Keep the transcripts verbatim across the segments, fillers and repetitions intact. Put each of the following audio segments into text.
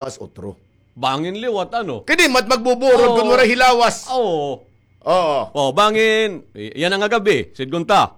As otro. Bangin liwat, ano? Kay di mat magbuburod kun waray hilawas. Oo. Oo. Oh, bangin, i-, yana nga gab-i, sidngon ta.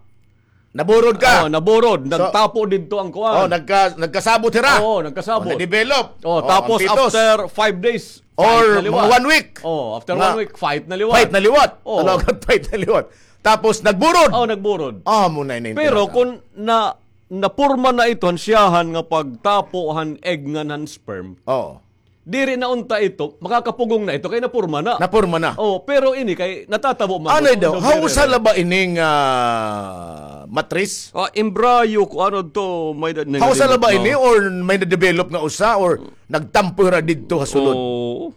Naburod ka. Oh, naburod. So, nagtapo didto an kuan. Oh, nagka-, nagkasabot hira. Oo, nagkasabot. Oh, na-develop. Oh, tapos after five days, or mga one week. Oh, after one week, fight na liwat. Fight na liwat. Oh. Talaga, fight na liwat. Tapos nagburod. Oh, nagburod. Ah, amo na ini. Pero kun na, napurma na ito han siyahan nga pagtapo han egg ngan han sperm. Oo. Diri na unta ito, makakapugong na ito kay napurma na. Napurma na. Oh, pero ini kay natatabo man. Ano daw? Hausa la ba ini nga, ah, matris? Ah, embryo ko ano to, may da-, hausa la ba ini or may na-develop nga usa or nagtampo hira didto ha sulod? Oo.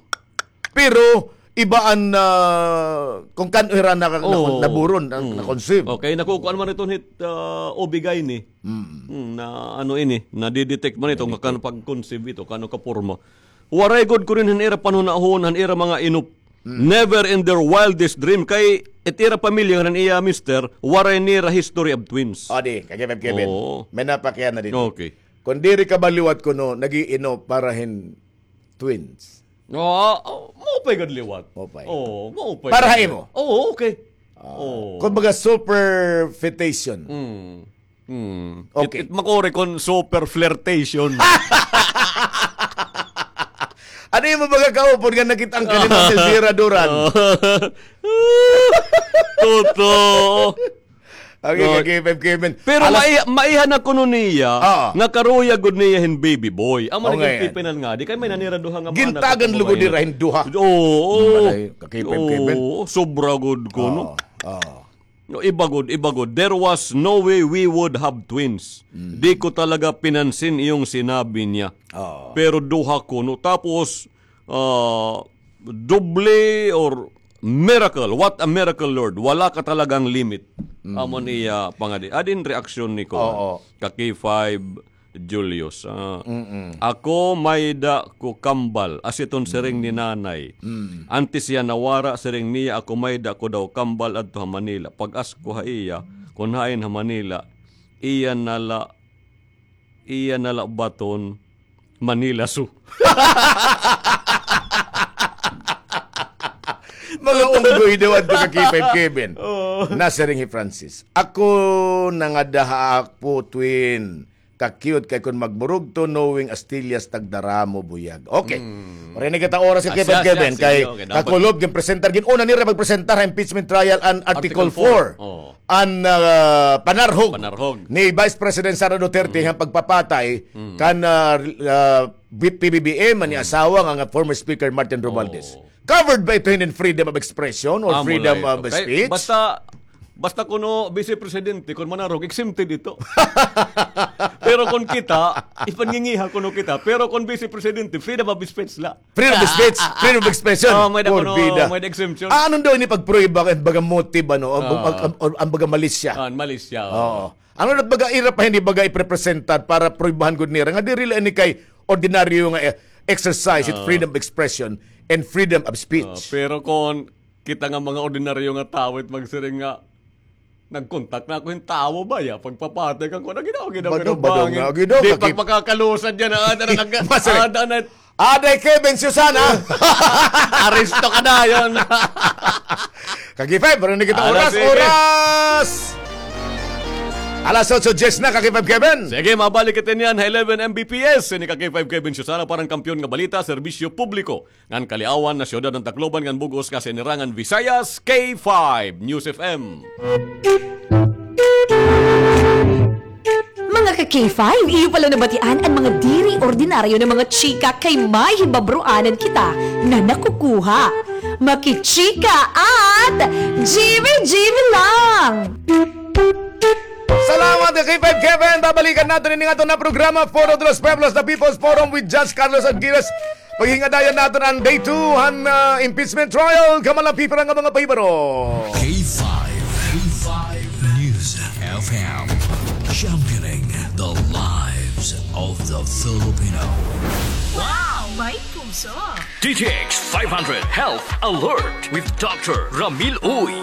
Pero iba an, ah, kung kan-o hira na, na, naburon, na, na-conceive. Okay, nakukuan man iton hit, ah, O B-gyne. Mm, na ano ini, nadidetect man ito, nga kan pag-conceive ito, kano ka porma. Waray gud kuno han ira panhunahon, han ira mga inop. Mm. Never in their wildest dream. Kay it ira pamilya han iya mister, waray nira history of twins. O, di, kay Kevin, Kevin. Oo. May napakiana dito. Okay. Kung diri ka ba liwat kuno, nag-iinop para hin twins. Oo, oh, maupay gud liwat. Maupay. Oo, maupay. Para ha imo? Oo, okay. Ah, oo. Kumbaga, superfetation. Mm. Hmm. Okay. It, it makuri kon super flirtation. Ano imo baga kaupod nga nakit-an ka ni Ma'am Elvira Duran? Totoo. Okay, okay, Kevin. Pero maiha na kuno niya nga karuyag gud niya hin baby boy. Amo na gintipinan nga. Di kay may nanira duha nga mga anak. Gintagan lugod nira hin duha. Oo. Malay, ka-Kevin. Oo, sobra gud kuno. Oo. No, iba gud, iba gud. There was no way we would have twins. Mm. Di ko talaga pinansin iyong sinabi niya. Oo. Pero duha kuno. Tapos, ah, doble or miracle. What a miracle, Lord. Wala ka talagang limit. Mm. Amo an iya pangadi. Adi an reaksyon ni ko. Oo. Ka K five, Julius, ah, ako may-ada ko kambal, as iton siring ni Nanay. Mm. Antes hiya nawara, siring niya, ako may-ada ko daw kambal adto ha Manila. Pag-ask ko ha iya, kon hain ha Manila, iya na la, iya na la baton, Manila Zoo. Mga unggoy daw adto ka K five Kevin. Oo. Nasiring hi Francis, ako nangada ha akon twin. Ka-cute kay kon magburugto, knowing Astillas tagdaramo buyag. Okay. Mm. Waray na kita oras ka Kevin, Kevin, kay kakulob, ginpresentar, gin-una nira magpresentar ha impeachment trial an Article four. Oo. An, ah, panarhog ni Vice President Sara Duterte han pagpapatay kan, ah, ah, P B B M, an iya asawa nga, nga former Speaker Martin Romualdez. Oo. Covered ba ito hin freedom of expression or freedom of speech? Basta, basta kuno Vice Presidente, kon manarog, exempted ito. Pero kon kita, ipangingiha kuno kita. Pero kon Vice Presidente, freedom of speech la. Freedom of speech, freedom of expression. Oh, may da kuno, may da exemption. Ah, ano daw ini pagprueba kay baga motive, ano, ang, ang, ang, ang baga malisya? Ah, malisya, oo. Oo. Ano na baga ira pa ini baga iprepresentar para pruebahan gud nira nga diri la ini kay ordinaryo nga, eh, exercise it freedom of expression and freedom of speech. Oo, pero kon kita nga mga ordinaryo nga tawo it magsiring nga, nagkontak na ako hin tawo baya, pagpapatay kan kuan, ginaw, ginaw, ginaw, bangin. Di pa makakalusad yana, ada na nag-, ada na. Aday Kevin, Susana. Aresto ka dayon. Ka K five, pero na kita oras, oras. Alas otso diyes na, ka K five Kevin. Sige, mabalik kita niyan ha eleven M B P S. Ini ka K five Kevin, Susana, parang kampiyon nga balita, serbisyo publiko. Ngan kaliawan na siyudad han Tacloban ngan bug-os nga sinirangan Visayas, K five News F M. Mga ka K five, iyo pala nabatian an mga diri ordinaryo nga mga chika kay may hibabroanan kita nga nakukuha. Makichika at G B G B lang! Salamat ka K five Kevin. Babalikan naton ini nga aton nga programa, Foro de los Pueblos, The People's Forum with Judge Carlos Aguirres. Paghingadayan naton an day two han, ah, impeachment trial. Kamalampi pa nga mga pahibaro. K five, K five News F M, championing the lives of the Filipino. Wow, may puso! D T X five hundred Health Alert with Doctor Ramil Uy.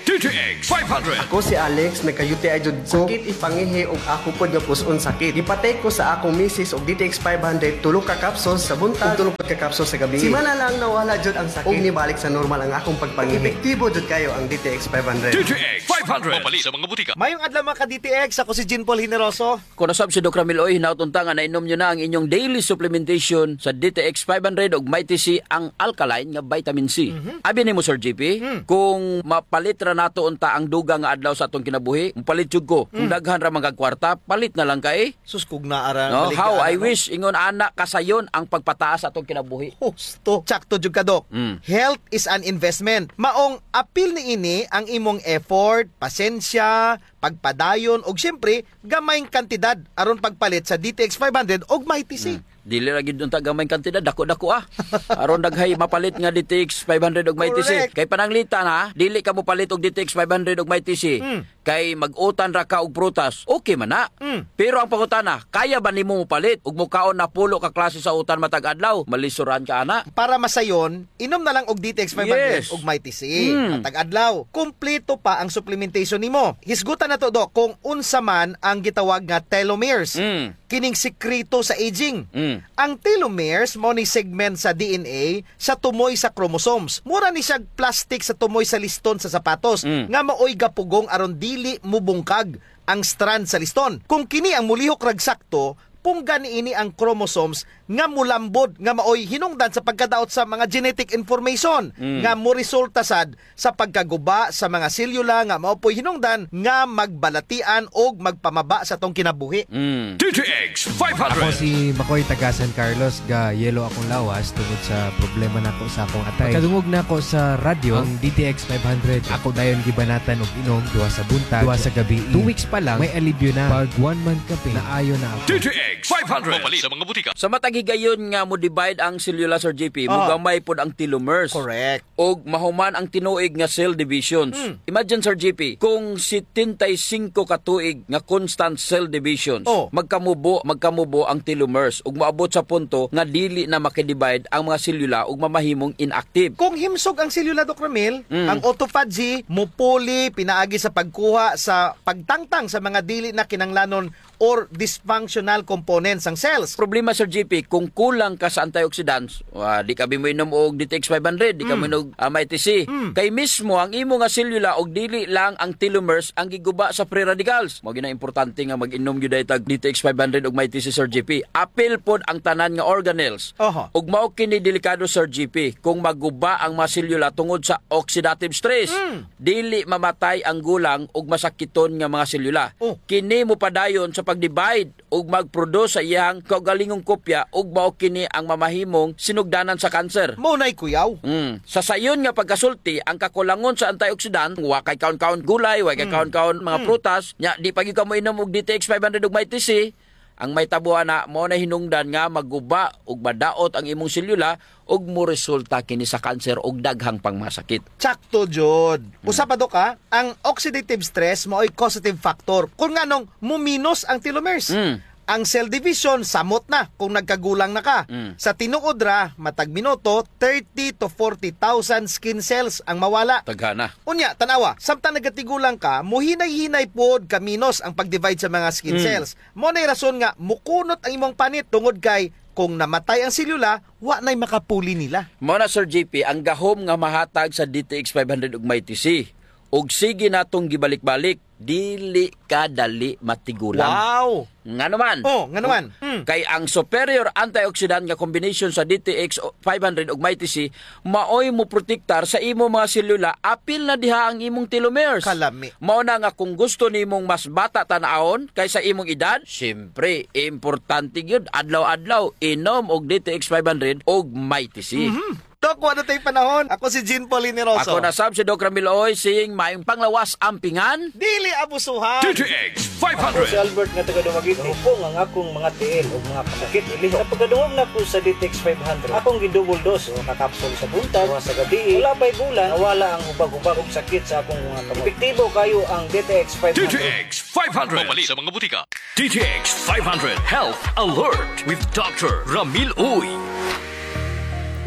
D T X five hundred. Ako si Alex, nagka-U T I jud ko. Sakit it pangihi ug ako pod nga pus-on sakit. Gipatake ko sa akong misis og D T X five hundred, tulo ka capsules sa buntag, ug tulo pod ka capsules sa gabii. Simana lang nawala jud ang sakit ug nibalik sa normal ang akong pagpangihi. Epektibo jud kayo ang D T X five hundred. D T X five hundred. Mapalit sa mga butika. Mayong adlaw, mga ka-D T X, ako si Jean Paul Generoso. Kuno sab si Doc Ramil Uy, hinaot unta nga nainom niyo na ang inyong daily supplementation sa D T X five hundred ug Mighty C, ang alkaline nga vitamin C. Mhm. Abi nimo, Sir G P, hmm, kung mapalit ra nato unta ang dugang nga adlaw sa atong kinabuhi, mopalit jud ko. Kung, hmm, daghan ra man kag kwarta, palit na lang kay. Sus, kung naa ra, no? How I wish, ingon ana, kasayon ang pagpataas sa atong kinabuhi. Husto. Tsakto jud ka, Doc. Mm. Health is an investment. Maong apil niini ang imong effort, pasensya, pagpadayon, ug siyempre, gamayng kantidad aron pagpalit sa D T X five hundred ug Mighty C. Hmm. Dili ra gyud unta gamayng kantidad, dako-dako, ah. Aron daghay mapalit nga D T X five hundred ug Mighty C. Correct. Kay pananglitan, ha, dili ka mopalit og D T X five hundred ug Mighty C. Hmm. Kay mag-utan ra ka og prutas, okay man na. Hmm. Pero ang pangutana, kaya ba nimo mopalit ug mokaon na pulo ka klase sa utan matag adlaw? Malisoran ka ana. Para masayon, inom na lang og D T X five hundred, yes, ug Mighty C. Mm. Matag adlaw, kumpleto pa ang supplementation nimo. Hisgutan nato, Doc, kung unsa man ang gitawag nga telomeres. Mm. Kining sikreto sa aging. Mm. Ang telomeres mao ni segment sa D N A sa tumoy sa chromosomes. Mura ni siya plastic sa tumoy sa liston sa sapatos, mm, nga maoy gapugong aron dili mubungkag ang strand sa liston. Kung kini ang mulihok rag sakto, pungga niini ang chromosomes nga mulambod, nga maoy hinungdan sa pagkadaot sa mga genetic information, mm, nga moresulta sad sa pagkaguba sa mga selyula nga mao poy hinungdan nga magbalatian og magpamaba sa atong kinabuhi. Mm. D T X five hundred. Ako si Makoy, taga San Carlos, ga-yellow akong lawas tungod sa problema nako sa akong atay. Pagkadungog nako sa radyo, ang D T X five hundred, ako dayon gibanatan og inom, duha sa buntag, duha sa gabii. Two weeks pa lang, may alibyo na. Pag one month ka, Ping, naayo na ako. D T X five hundred. Mapalit sa mga butika. Sa matag higayon nga mo-divide ang selyula, Sir G P, ah, mogamay pod ang telomeres. Correct. Og mahuman ang tinuig nga cell divisions. Hmm. Imagine, Sir G P, kung setenta y cinco ka tuig nga constant cell divisions, oh, magkamubo, magkamubo ang telomeres ug moabot sa punto nga dili na makidivide ang mga selyula ug mamahimong inactive. Kung himsog ang selyula, Doc Ramil, mm, ang autophagy mupuli pinaagi sa pagkuha sa pagtangtang sa mga dili na kinahanglanon or dysfunctional components sang cells. Problema, Sir G P, kung kulang ka sa antioxidants, wa, di ka bi moinom og D T X five hundred, di ka, mm, moinom og, ah, Mighty C. Mm. Kay mismo ang imo nga selula og dili lang ang telomeres ang giguba sa free radicals. Mao gyud na importante nga mag-inom gyud tag D T X five hundred ug Mighty C, Sir G P. Apil pod ang tanan nga organelles. Oho. Ug mao kini delikado, Sir G P, kung maguba ang mga selula tungod sa oxidative stress. Mm. Dili mamatay ang gulang ug masakiton nga mga selula. Oh. Kini mopadayon sa pag-divide ug mag-produce sa iyang kaugalingong kopya ug mao kini ang mamahimong sinugdanan sa cancer. Mao nay kuyaw. Mm. Sa sayon nga pagkasulti, ang kakulangon sa antioxidant, wa kay kaon-kaon gulay, wa kay, mm, kaon-kaon mga, mm, prutas, nya di pa gyud ka moinom og D T X five hundred ug Mighty C, ang mahitabo ana, mao na hinungdan nga maguba ug madaot ang imong selula ug moresulta kini sa cancer ug daghang pang mga sakit. Tsakto jud. Mm. Usa pa, Dok, ha, ang oxidative stress mao'y causative factor kung nganong muminos ang telomeres. Mm. Ang cell division, samot na kung nagkagulang na ka. Mm. Sa tinuod ra, matag minuto, thirty to forty thousand skin cells ang mawala. Daghana. Unya, tan-awa, samtang nagatigulang ka, muhinay-hinay pod kaminos ang pag-divide sa mga skin, mm, cells. Mao nay rason nga mukunot ang imong panit tungod kay kung namatay ang selula, wa nay makapuli nila. Mao na, Sir G P, ang gahom nga mahatag sa D T X five hundred ug Mighty C. Ug sige natong gibalik-balik, dili ka dali matigulang. Wow! Ngano man? Oh, ngano man? Mm. Kay ang superior antioxidant nga combination sa D T X five hundred ug Mighty C maoy moprotektar sa imo mga selula, apil na diha ang imong telomeres. Kalami. Mao na nga kung gusto nimong mas bata tan-awon kaysa imong edad, siyempre, importante gyud adlaw-adlaw inom og D T X five hundred og Mighty C. Mhm. Dok, wala tay panahon. Ako si Jean Paul Generoso. Ako na sab si Doc Ramil Oy, saying, maayong panglawas, ampingan. Dili abusuhan. D T X five hundred. Ako si Albert nga taga Dumaguete. Hupong ang akong mga tiil ug mga kasakit. Sa pagkadungog nako sa D T X five hundred, akong gi-double dose, usa ka kapsul sa buntag, usa sa gabii. Wala pa'y bulan, nawala ang hubag-hubag ug sakit sa akong mga kamot. Epektibo kayo ang D T X five hundred. D T X five hundred. Mapalit sa mga butika. D T X five hundred Health Alert with Doctor Ramil Uy.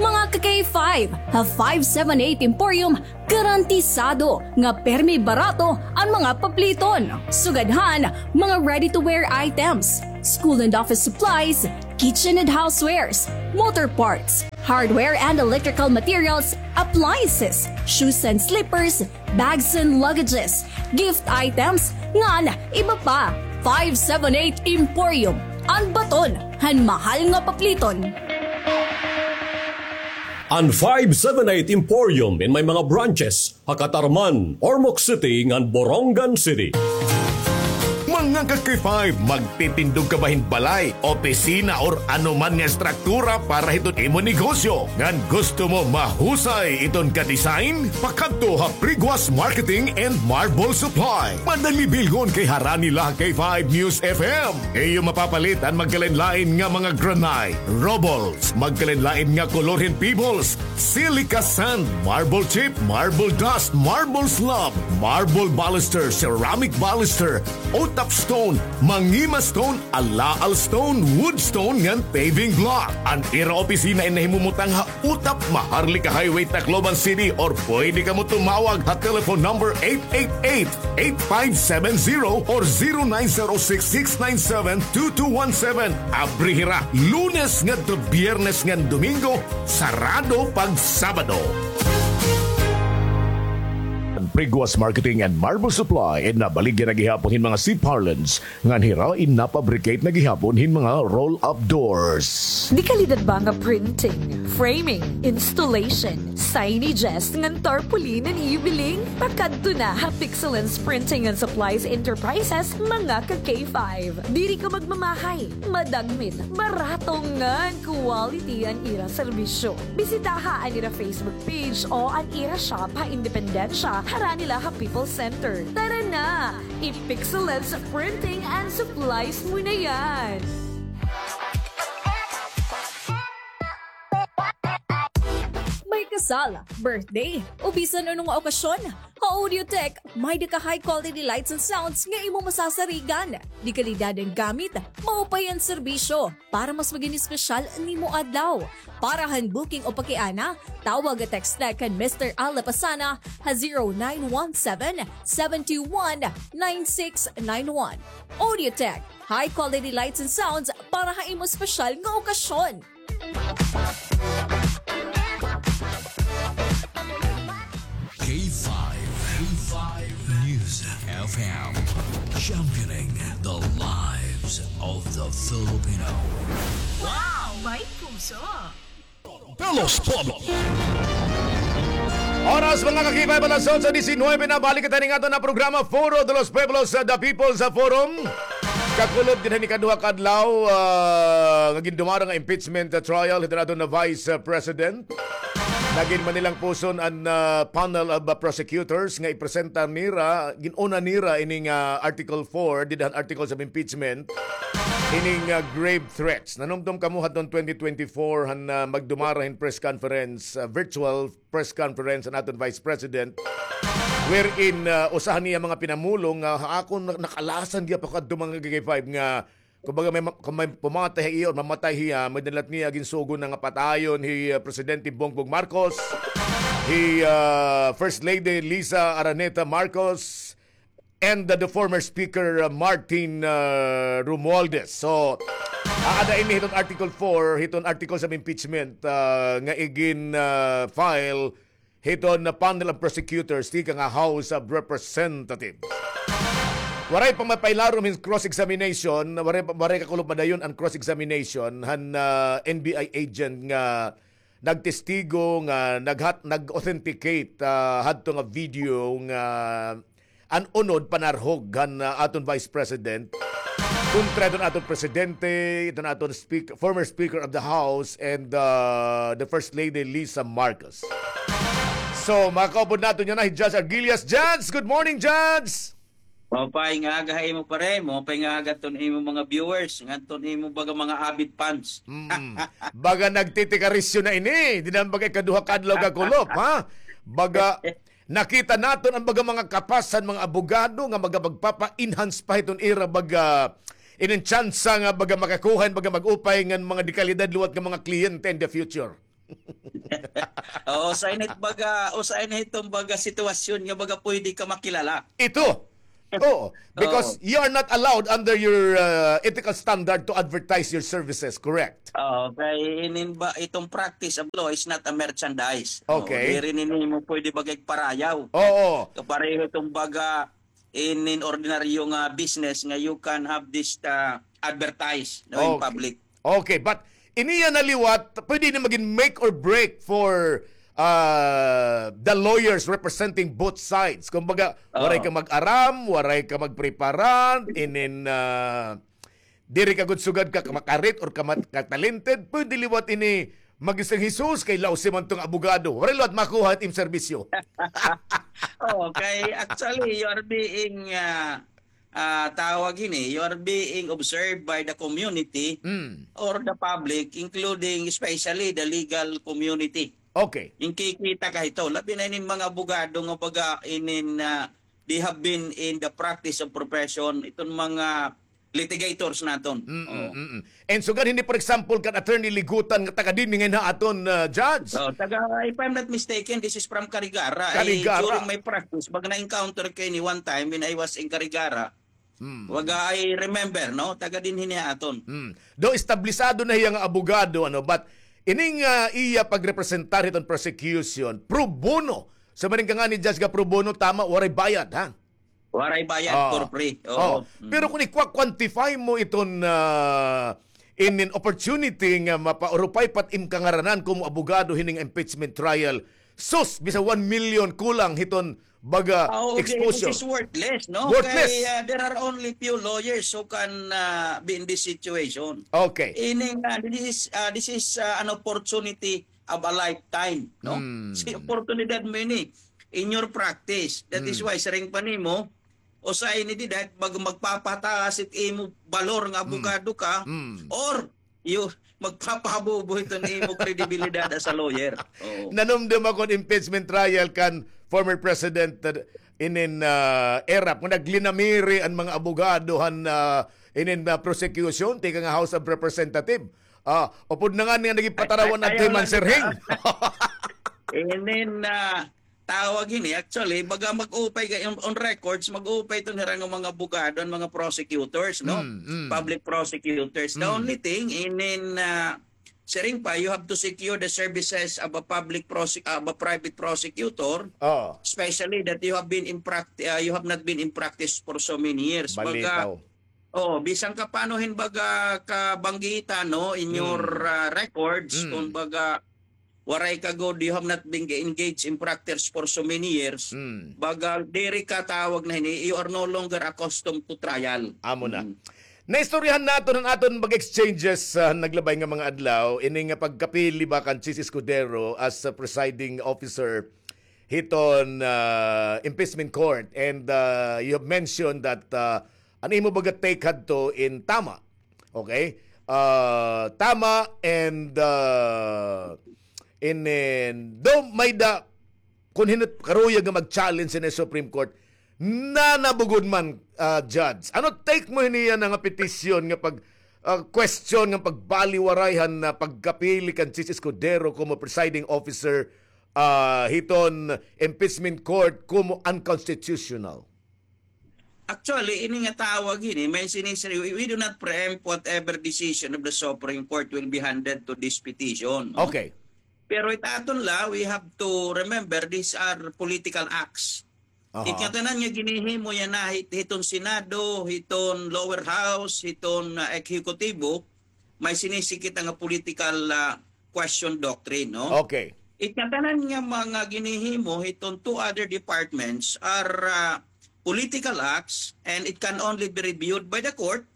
Mga kagay Five, ha five seven eight Emporium, garantisado nga permi barato an mga papliton. Sugad han mga ready-to-wear items, school and office supplies, kitchen and housewares, motor parts, hardware and electrical materials, appliances, shoes and slippers, bags and luggages, gift items, ngan iba pa. Five seven eight Emporium, an baton han mahal nga papliton. An five seven eight Emporium in may mga branches ha Catarman, Ormoc City, ngan Borongan City. Mga ka-K five, magtitindog ka ba hin balay, opisina, or ano man nga estruktura para hiton imo negosyo? Ngan gusto mo mahusay iton ka-design? Pakadto ha Priguas Marketing and Marble Supply. Madali bilhon kay harani la ha K five News F M. Iyo mapapalit an magkalain-lain nga mga granite, rubbles, magkalain-lain nga kolor hin pebbles, silica sand, marble chip, marble dust, marble slab, marble baluster, ceramic baluster, O-top stone, mangima stone, alaal stone, wood stone, ngan paving block. An ira opisina in nahimumutang ha Utap, Maharlika Highway, Tacloban City, or pwede kamo tumawag ha telephone number eight eight eight, eight five seven zero or zero nine zero six, six nine seven, two two one seven. Abri hira Lunes ngadto Biyernes ngan Domingo, sarado pag Sabado. Priguas Marketing and Marble Supply in nabaligya na gihapon hin mga C-parlance ngan hira in napabricate na gihapon hin mga roll-up doors. Dekalidad ba nga printing, framing, installation, signages, ngan tarpaulin an iyo biling? Pakadto na ha Pixelance Printing and Supplies Enterprises, mga ka-K five. Diri ka magmamahay, madagmit, barato ngan quality an ira serbisyo. Bisitaha an ira Facebook page o an ira shop ha Independencia, harani la ha People's Center. Tara na! I-Pixelance Printing and Supplies mo na yan! May kasal, birthday, o bisan ano nga okasyon, ha Audiotech, may-ada ka high quality lights and sounds nga imo masasarigan. Dekalidad an gamit, maupay an serbisyo, para mas magin espesyal an imo adlaw. Para han booking o pakiana, tawag o text na kan Mister Al Lapasana ha zero nine one seven, seven two one, nine six nine one. Audiotech, high quality lights and sounds para ha imo espesyal nga okasyon. K five, K five News F M, championing the lives of the Filipino. Wow! May puso! Pelos Pueblo. Oras, mga ka-K five, alas otso diecinuebe na. Balik kita ning aton nga programa, Foro de los Pueblos, uh, The People's, uh, Forum. Kakulop gid han ikaduha ka adlaw, ah, nga gindumara nga impeachment, ah, trial hiton aton nga Vice, ah, President. Nagin man nilang puson an, ah, panel of, ah, prosecutors nga ipresenta nira, gin-una nira ining, ah, Article four, dida han Articles of Impeachment, ining, ah, grave threats. Nanumdom kamo hadton twenty twenty-four han, ah, magdumara hin press conference, ah, virtual press conference an aton Vice President, wherein, ah, usa han iya mga pinamulong nga ha akon na-, nakalasan gihapon kadto, mga ka-K five, nga kumbaga may ma-, kon may pumatay ha iya or mamatay hiya, may dalat niya ginsugo na nga patayon hi, ah, Presidente Bongbong Marcos, hi, ah, First Lady Liza Araneta Marcos, and the, the former Speaker, uh, Martin, uh, Romualdez. So, aada ini hiton Article four, hiton Articles of Impeachment, uh, nga igin, uh, file hiton panel of prosecutors tikang ha House of Representatives. Waray pa mapailarom hin cross-examination, waray pa, waray kakulop madayon an cross-examination han, uh, N B I agent nga nagtestigo nga naghat-, nag-authenticate, ah, hadto nga video nga an unod panarhog han, ah, aton Vice President kontra hiton aton Presidente, hiton aton speak-, former Speaker of the House, and, ah, the First Lady Liza Marcos. So, makaupod naton yana hi Judge Arguillas. Judge, good morning, Judge! Maupay nga aga ha imo, pare. Maupay nga aga hit imo mga viewers, ngan hit imo baga mga avid fans. Mm. Baga nagtitikarisyo na ini. Dida man baga ikaduha ka adlaw kakulop, ha? Baga nakita naton an baga mga kapas han mga abogado nga baga magpapa-enhance pa hiton ira baga inin tsansa nga baga makakuha hin baga mag-upay ngan mga dekalidad liwat nga mga kliyente in the future. Oo, usa ini it baga, usa ini iton baga sitwasyon nga baga pwede ka makilala. Ito. Oo, because you are not allowed under your uh, ethical standard to advertise your services, correct? Oo, kay inin ba, iton practice of law is not a merchandise. Oo, Okay. Diri nini mo pwede baga igparayaw. Oo. Kapareho iton baga inin ordinaryo nga business nga you can have this uh, advertise, no, in Okay. Public. Okay, but iniya na liwat, pwede ini magin make or break for uh, the lawyers representing both sides. Kumbaga, waray Oo. ka mag-aram, waray ka magpreparan, inin uh, diri ka gud sugad ka makarit or ka mat- ka-talented, pwede liwat ini mag-isang Jesus kay lausi man tong abogado. Waray liwat makuha it im serbisyo. Okay, actually, you are being uh, uh, tawag ini, you are being observed by the community Mm. or the public, including especially the legal community. Okay. Yung kikita ka ito, labi na inin mga abogado nga baga inin uh, they have been in the practice of profession, iton mga litigators naton. Mm, Oo. mm, mm. And sugad hindi, for example, kan Attorney Ligutan nga taga dinhi ngayon ha aton uh, judge. Oh, taga, if I'm not mistaken, this is from Carigara. Carigara. Eh, during my practice, baga na-encounter ko ini one time when I was in Carigara. Mm. Waga, I remember, no? Taga dinhi niya aton. Mm. Do establisado na hiya nga abogado, ano, but ining uh, iya pagrepresentar hiton prosecution pro bono. So maring ka nga ni judge nga pro bono, tama, waray bayad, ha? Waray bayad, Ah. For free. Oh. Oo. Mm. Pero kung ikwa-quantify mo iton uh, inin opportunity nga mapaurupay pa it im kangaranan komo abogado hining impeachment trial, sus, bisa one million kulang hiton baga Oh, okay, exposure. Which is worthless, no? Worthless. Kay uh, there are only few lawyers who can uh, be in this situation. Okay. Ining uh, this is uh, this is uh, an opportunity of a lifetime, no? Hmm. Si oportunidad mo ini in your practice. That is Hmm. Why siring pa nimo, usa ini dida, mag, magpapataas it imo balor nga abogado ka, Hmm. or you magpapahabubo ito ni imo kredibilidad as a lawyer. Oo. Nanumdum ako an impeachment trial kan former President uh, inin uh, Erap nga naglinamiri an mga abogado han uh, inin uh, prosecution tikang House of Representative. Ah, upod na nga niya naging patarawan Ay, at Timan Sirhing. Inin uh, tawag ini, actually, baga mag-upay kay on, on records, mag-upay ito nira nga mga abogado, an mga prosecutors, no? Mm, mm. Public prosecutors. The Mm. only thing, inin uh, siring pa, you have to secure the services of a public prosec- of a private prosecutor, Oh. especially that you have been in practice, uh, you have not been in practice for so many years. Baga, Balitaw. oh, bisan ka paano hin baga kabanggitan, no, in your Mm. uh, records, Mm. kung baga waray ka gud, you have not been engaged in practice for so many years. Mm. Baga diri ka tawag na hini, you are no longer accustomed to trial. Amo na. Mm. Naistoryahan naton an aton mag-exchanges sa naglabay nga mga adlaw, ini nga pagkapili ba kan Chiz Escudero as a presiding officer hiton ah, impeachment court. And ah, you have mentioned that ah, an imo baga take hadto in tama. Okay? Ah, tama and ah, in, in, do may da kun hin-o it karuyag nga mag-challenge sa Supreme Court, nanabugod man, ah, Judge. Ano take mo hiniya nga petisyon nga pag, ah, question nga pagbaliwaray han, ah, pagkapili kan Chiz Escudero komo presiding officer, ah, hiton impeachment court komo unconstitutional? Actually, ini nga tawag ini, may sinisiri, we, we do not preempt whatever decision of the Supreme Court will be handed to this petition, no? Okay. Pero it aton la, we have to remember, these are political acts. Aha. Ikatanan nga ginihimo yana hit-, hiton Senado, hiton lower house, hiton ah, ehekutibo, may sinisikita nga political ah, question doctrine, no? Okay. Ikatanan nga mga ginihimo hiton two other departments are ah, political acts and it can only be reviewed by the court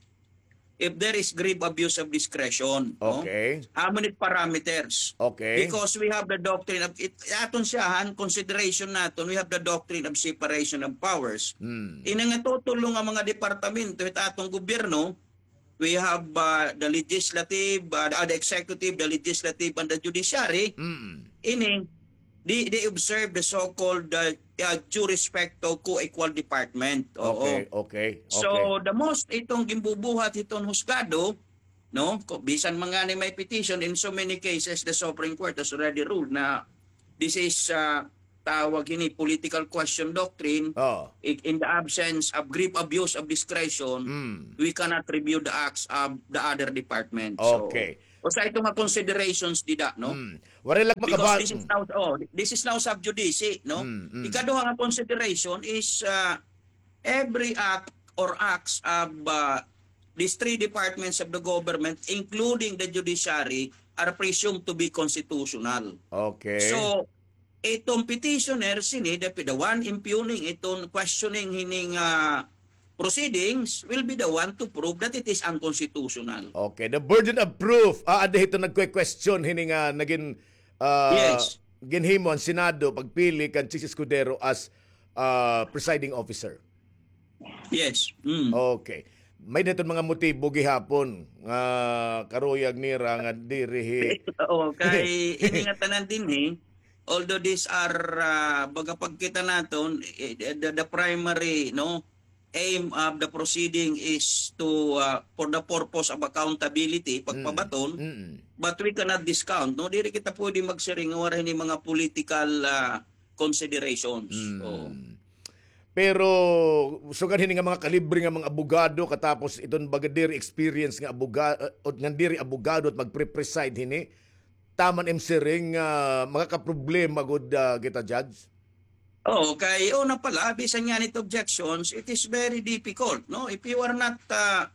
if there is grave abuse of discretion, no? Okay. Amo ni it parameters. Okay. Because we have the doctrine of, it, aton siya, han consideration naton, we have the doctrine of separation of powers. Hmm. Ini nga tutulo nga mga departamento hit aton gobyerno, we have uh, the legislative, uh, the executive, the legislative, and the judiciary. Mm. Ini, they, they observe the so-called uh, uh, jus respecto, co-equal department. Oo. Okay, okay. So, the most itong gimbubuhat hiton husgado, no? Ko-, bisan man ngani may petition, in so many cases, the Supreme Court has already ruled na this is, ah, tawag hini political question doctrine. Oh. I-, in the absence of grave abuse of discretion, Mm. we cannot review the acts of the other department. So, Okay. usa ito nga considerations dida, no? Mm. Waray lang Because makaba- this is now, oh, this is now sub judice, no? Mm, mm. Ikaduha nga consideration is, ah, every act or acts of, ah, these three departments of the government, including the judiciary, are presumed to be constitutional. Okay. So, iton petitioner, sini, the, the one impugning, iton questioning hini nga proceedings will be the one to prove that it is unconstitutional. Okay, the burden of proof. Ah, adi hito nagkwe-question hini nga nagin, ah, Yes. ginhimo an Senado pagpili kan Chiz Escudero as, ah, presiding officer. Yes. Mm. Okay. May daton mga motibo gihapon nga karuyag nira nga diri hi- Oo, kay ini nga tanan dinhi, although these are, ah, baga pagkita naton, eh, the, the primary, no, aim of the proceeding is to, ah, for the purpose of accountability, Mm. pagpabaton, Mm-mm. but we cannot discount, no? Diri kita pwede magsiring nga waray ni mga political, ah, considerations. Mm. Oo. Pero, sugad hini nga mga kalibre nga mga abogado, katapos iton baga diri experience nga aboga-, uh, o nga diri abogado at magpre-preside hini, taman im siring nga makakaproblema gud, ah, kita, Judge? Oo, kay una pa la, bisan ngani it objections, it is very difficult, no? If you are not, ah,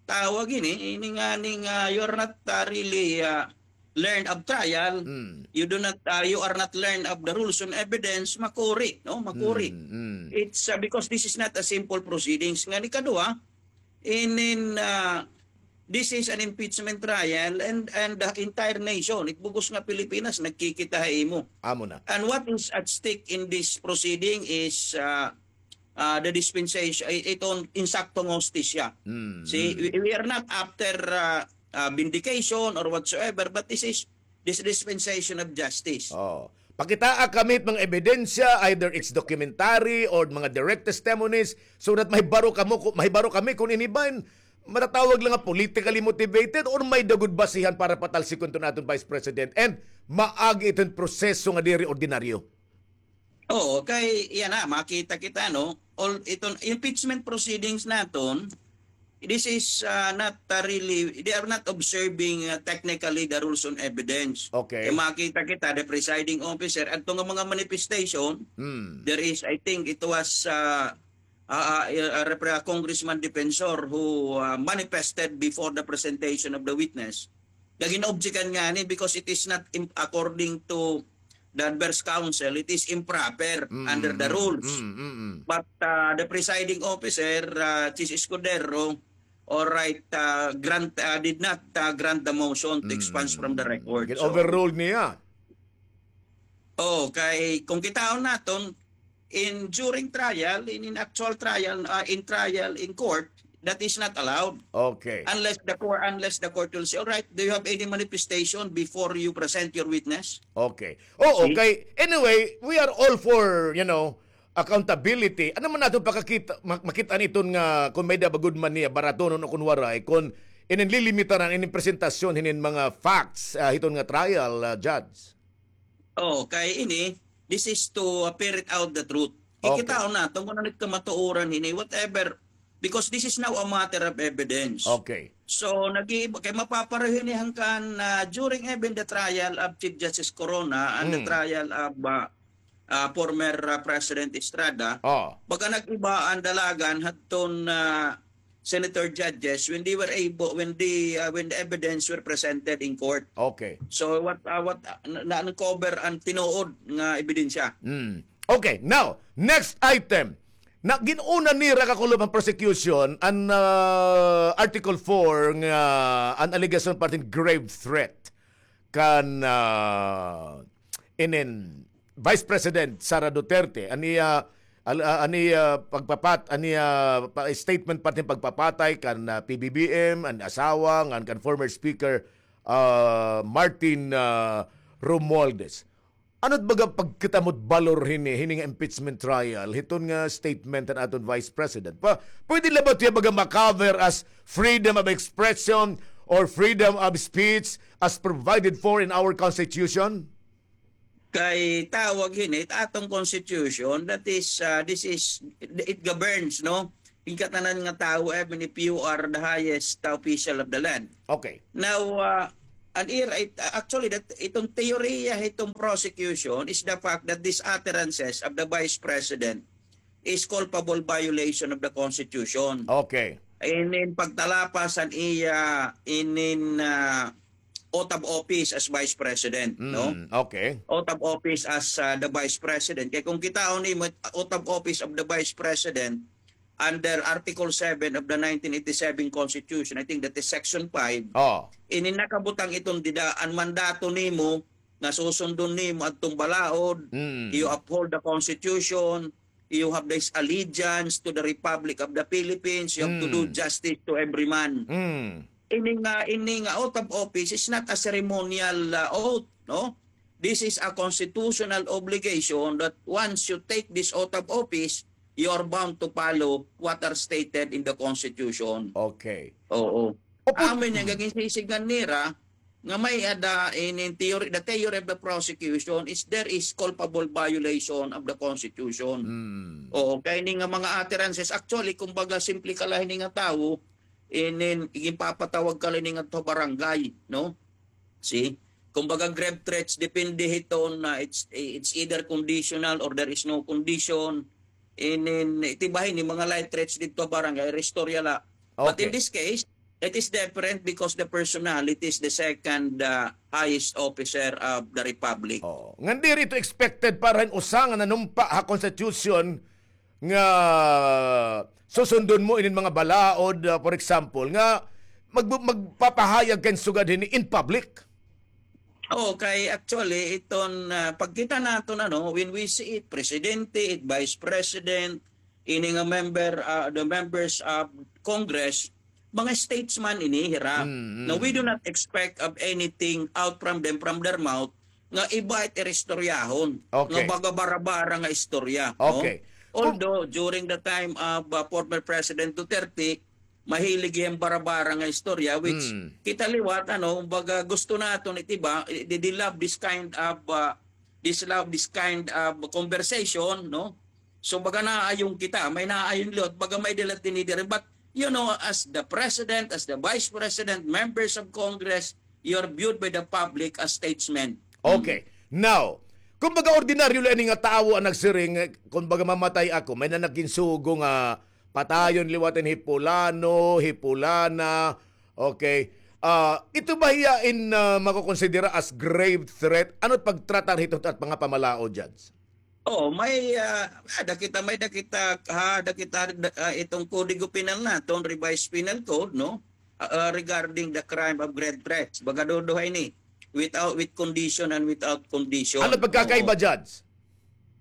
tawag ini, ini ngani nga, you are not, ah, really, ah, learned of trial, Mm. you do not, ah, you are not learned of the rules on evidence, makuri, no? Makuri. Mm, mm. It's, ah, because this is not a simple proceedings. Ngani kadua, in, in, ah, this is an impeachment trial and, and the entire nation, it bug-os nga Pilipinas, nagkikita ha imo. Amo na. And what is at stake in this proceeding is, ah, ah, the dispensation, i-, iton insakto nga hustisya. Mm, See, mm. we, we are not after, ah, ah, vindication or whatsoever, but this is, this dispensation of justice. Oh. Pakitaa kami it mga ebidensya, either it's documentary or mga direct testimonies, so that mahibaro kamo ku-, mahibaro kami kun ini ba in matatawag la nga politically motivated or may-ada gud basihan para patalsikon iton aton Vice President and maagi iton proseso nga diri ordinaryo. Oo, kay yana, makita kita, no? All iton impeachment proceedings naton, this is, ah, not, ah, really, they are not observing, ah, technically the rules on evidence. Okay. Kay makita kita, the presiding officer, adto nga mga manifestation, Hmm. there is, I think it was, ah, ah, ah, ah, Repre-, Congressman Defensor who, ah, manifested before the presentation of the witness. Nagin-objectan ngani because it is not im-, according to the adverse counsel, it is improper Mm, under the mm, rules. mm, mm, mm. But, ah, the presiding officer, ah, Chiz Escudero, all right, ah, grant, ah, did not, ah, grant the motion to expunge from the Mm. record. So, Gin-overrule niya. Oh, kay kung kitaon naton, in during trial, in, in actual trial, ah, in trial, in court, that is not allowed. Okay. Unless the court, unless the court will say, "All right, do you have any manifestation before you present your witness?" Okay. Oo, See? Okay. Anyway, we are all for, you know, accountability. Ano man naton pakakita, ma-, makita niton nga kung may-ada ba gud man niya, baratonon o kung waray, kung ininlilimitaran, ininpresentasyon, hinin mga facts, ah, hiton nga trial, ah, judge? Oh, kay ini, this is to, uh, ferret out the truth. Okay. Kikitaon naton kun ano it kamatuoran hini, whatever, because this is now a matter of evidence. Okay. So, nag-iiba, kay mapapareho ini hangkan, uh, during even the trial of Chief Justice Corona and the Hmm. trial of, uh, uh, former, uh, President Estrada, Oh. baga nag-iba an dalagan hadton, uh, senator judges when they were able, when the, uh, when the evidence were presented in court. Okay. So what, uh, what, uh, na, na-uncover an tinuod nga ebidensya. Mm. Okay, now, next item. Na gin-una nira kakulop an prosecution an, uh, Article four nga an allegation parting grave threat kan, ah, inin Vice President Sara Duterte, an iya, al-, ah, an iya pagpapat-, an iya pa-, statement parting pagpapatay kan, ah, P B B M, an asawa, ngan kan former Speaker, ah, Martin, ah, Romualdez. Ano it baga pagkita mo it balor hini, hini nga impeachment trial, hiton nga statement han aton Vice President? Pa, pwede la ba ito iya baga ma-cover as freedom of expression or freedom of speech as provided for in our Constitution? Kay tawag hini, it aton Constitution, that is, ah, this is, it governs, no? Hingkatanan nga tawo, even if you are the highest official of the land. Okay. Now, ah, an ira, it, actually, that, iton teorya, iton prosecution is the fact that these utterances of the Vice President is culpable violation of the Constitution. Okay. In, in pagtalapas an iya, in, in, ah, oath of office as Vice President, no? Mm, okay. Oath of office as, ah, the Vice President. Kay kung kitaon nimo, oath of office of the Vice President under Article seven of the nineteen eighty-seven Constitution, I think that is Section five. Oh. Ini nakabutang iton dida, an mandato nimo nga susundon nimo adtong balaod, mm, you uphold the Constitution, you have this allegiance to the Republic of the Philippines, you have to do, mm, justice to every man. Mm. Ini nga, ini nga oath of office is not a ceremonial, uh, oath, no? This is a constitutional obligation that once you take this oath of office, you are bound to follow what are stated in the Constitution. Okay. Oo. Opo. Amo ini nga ginsisidngan nira, nga may-ada in, in theory, the theory of the prosecution is there is culpable violation of the Constitution. Mm. Oo, kay ini nga mga utterances, actually, kumbaga, simple ka la hini nga tawo, in, in, ginpapatawag ka la hini nga to barangay, no? See? Kumbaga, grave threats, depende hiton na it's, it's either conditional or there is no condition. In, in, iti ba hini, mga light threats didto barangay, istorya la. But in, okay, this case, it is different because the personality is the second, uh, highest officer of the republic. Oo. Ngan diri ito expected para hin usa nga nanumpa ha constitution nga susundon mo inin mga balaod, uh, for example, nga mag-, magpapahayag ka hin sugad hini in public. Oo, kay actually, iton, ah, pagkita naton, ano, when we see it, presidente, it vice president, ini nga member, ah, the members of Congress, mga statesman ini, hira. Mm, mm. Now, we do not expect of anything out from them, from their mouth, nga iba it iristoryahon, nga, okay, baga bara-bara nga istorya, no? Okay. Although, during the time of, ah, former President Duterte, mahilig hiya hin bara-bara nga istorya, which, mm, kita liwat, ano, baga gusto naton it iba, they, they love this kind of, uh, this love, this kind of conversation, no? So, baga naaayon kita, may naaayon liwat, baga may dala tinidiri. But, you know, as the president, as the vice president, members of Congress, you are viewed by the public as statesmen. Okay. Mm. Now, kumbaga, ordinaryo la ini nga tawo an nagsiring, kumbaga, mamatay ako, may na nagkinsugo nga patayon liwat hin hi pulano, hi pulana. Okay. Ah, ito ba hiya in, ah, makokonsidera as grave threat? Ano it pagtratar hito at mga pamalaod, Judge? Oo, may, ah, ada kita, may da kita, ha, da kita, ah, iton Kodigo Penal naton, Revised Penal Code, no? Ah, ah, regarding the crime of grave threats. Baga duduha ini, without, with condition and without condition. Ano pagkakaiba, oo, Judge?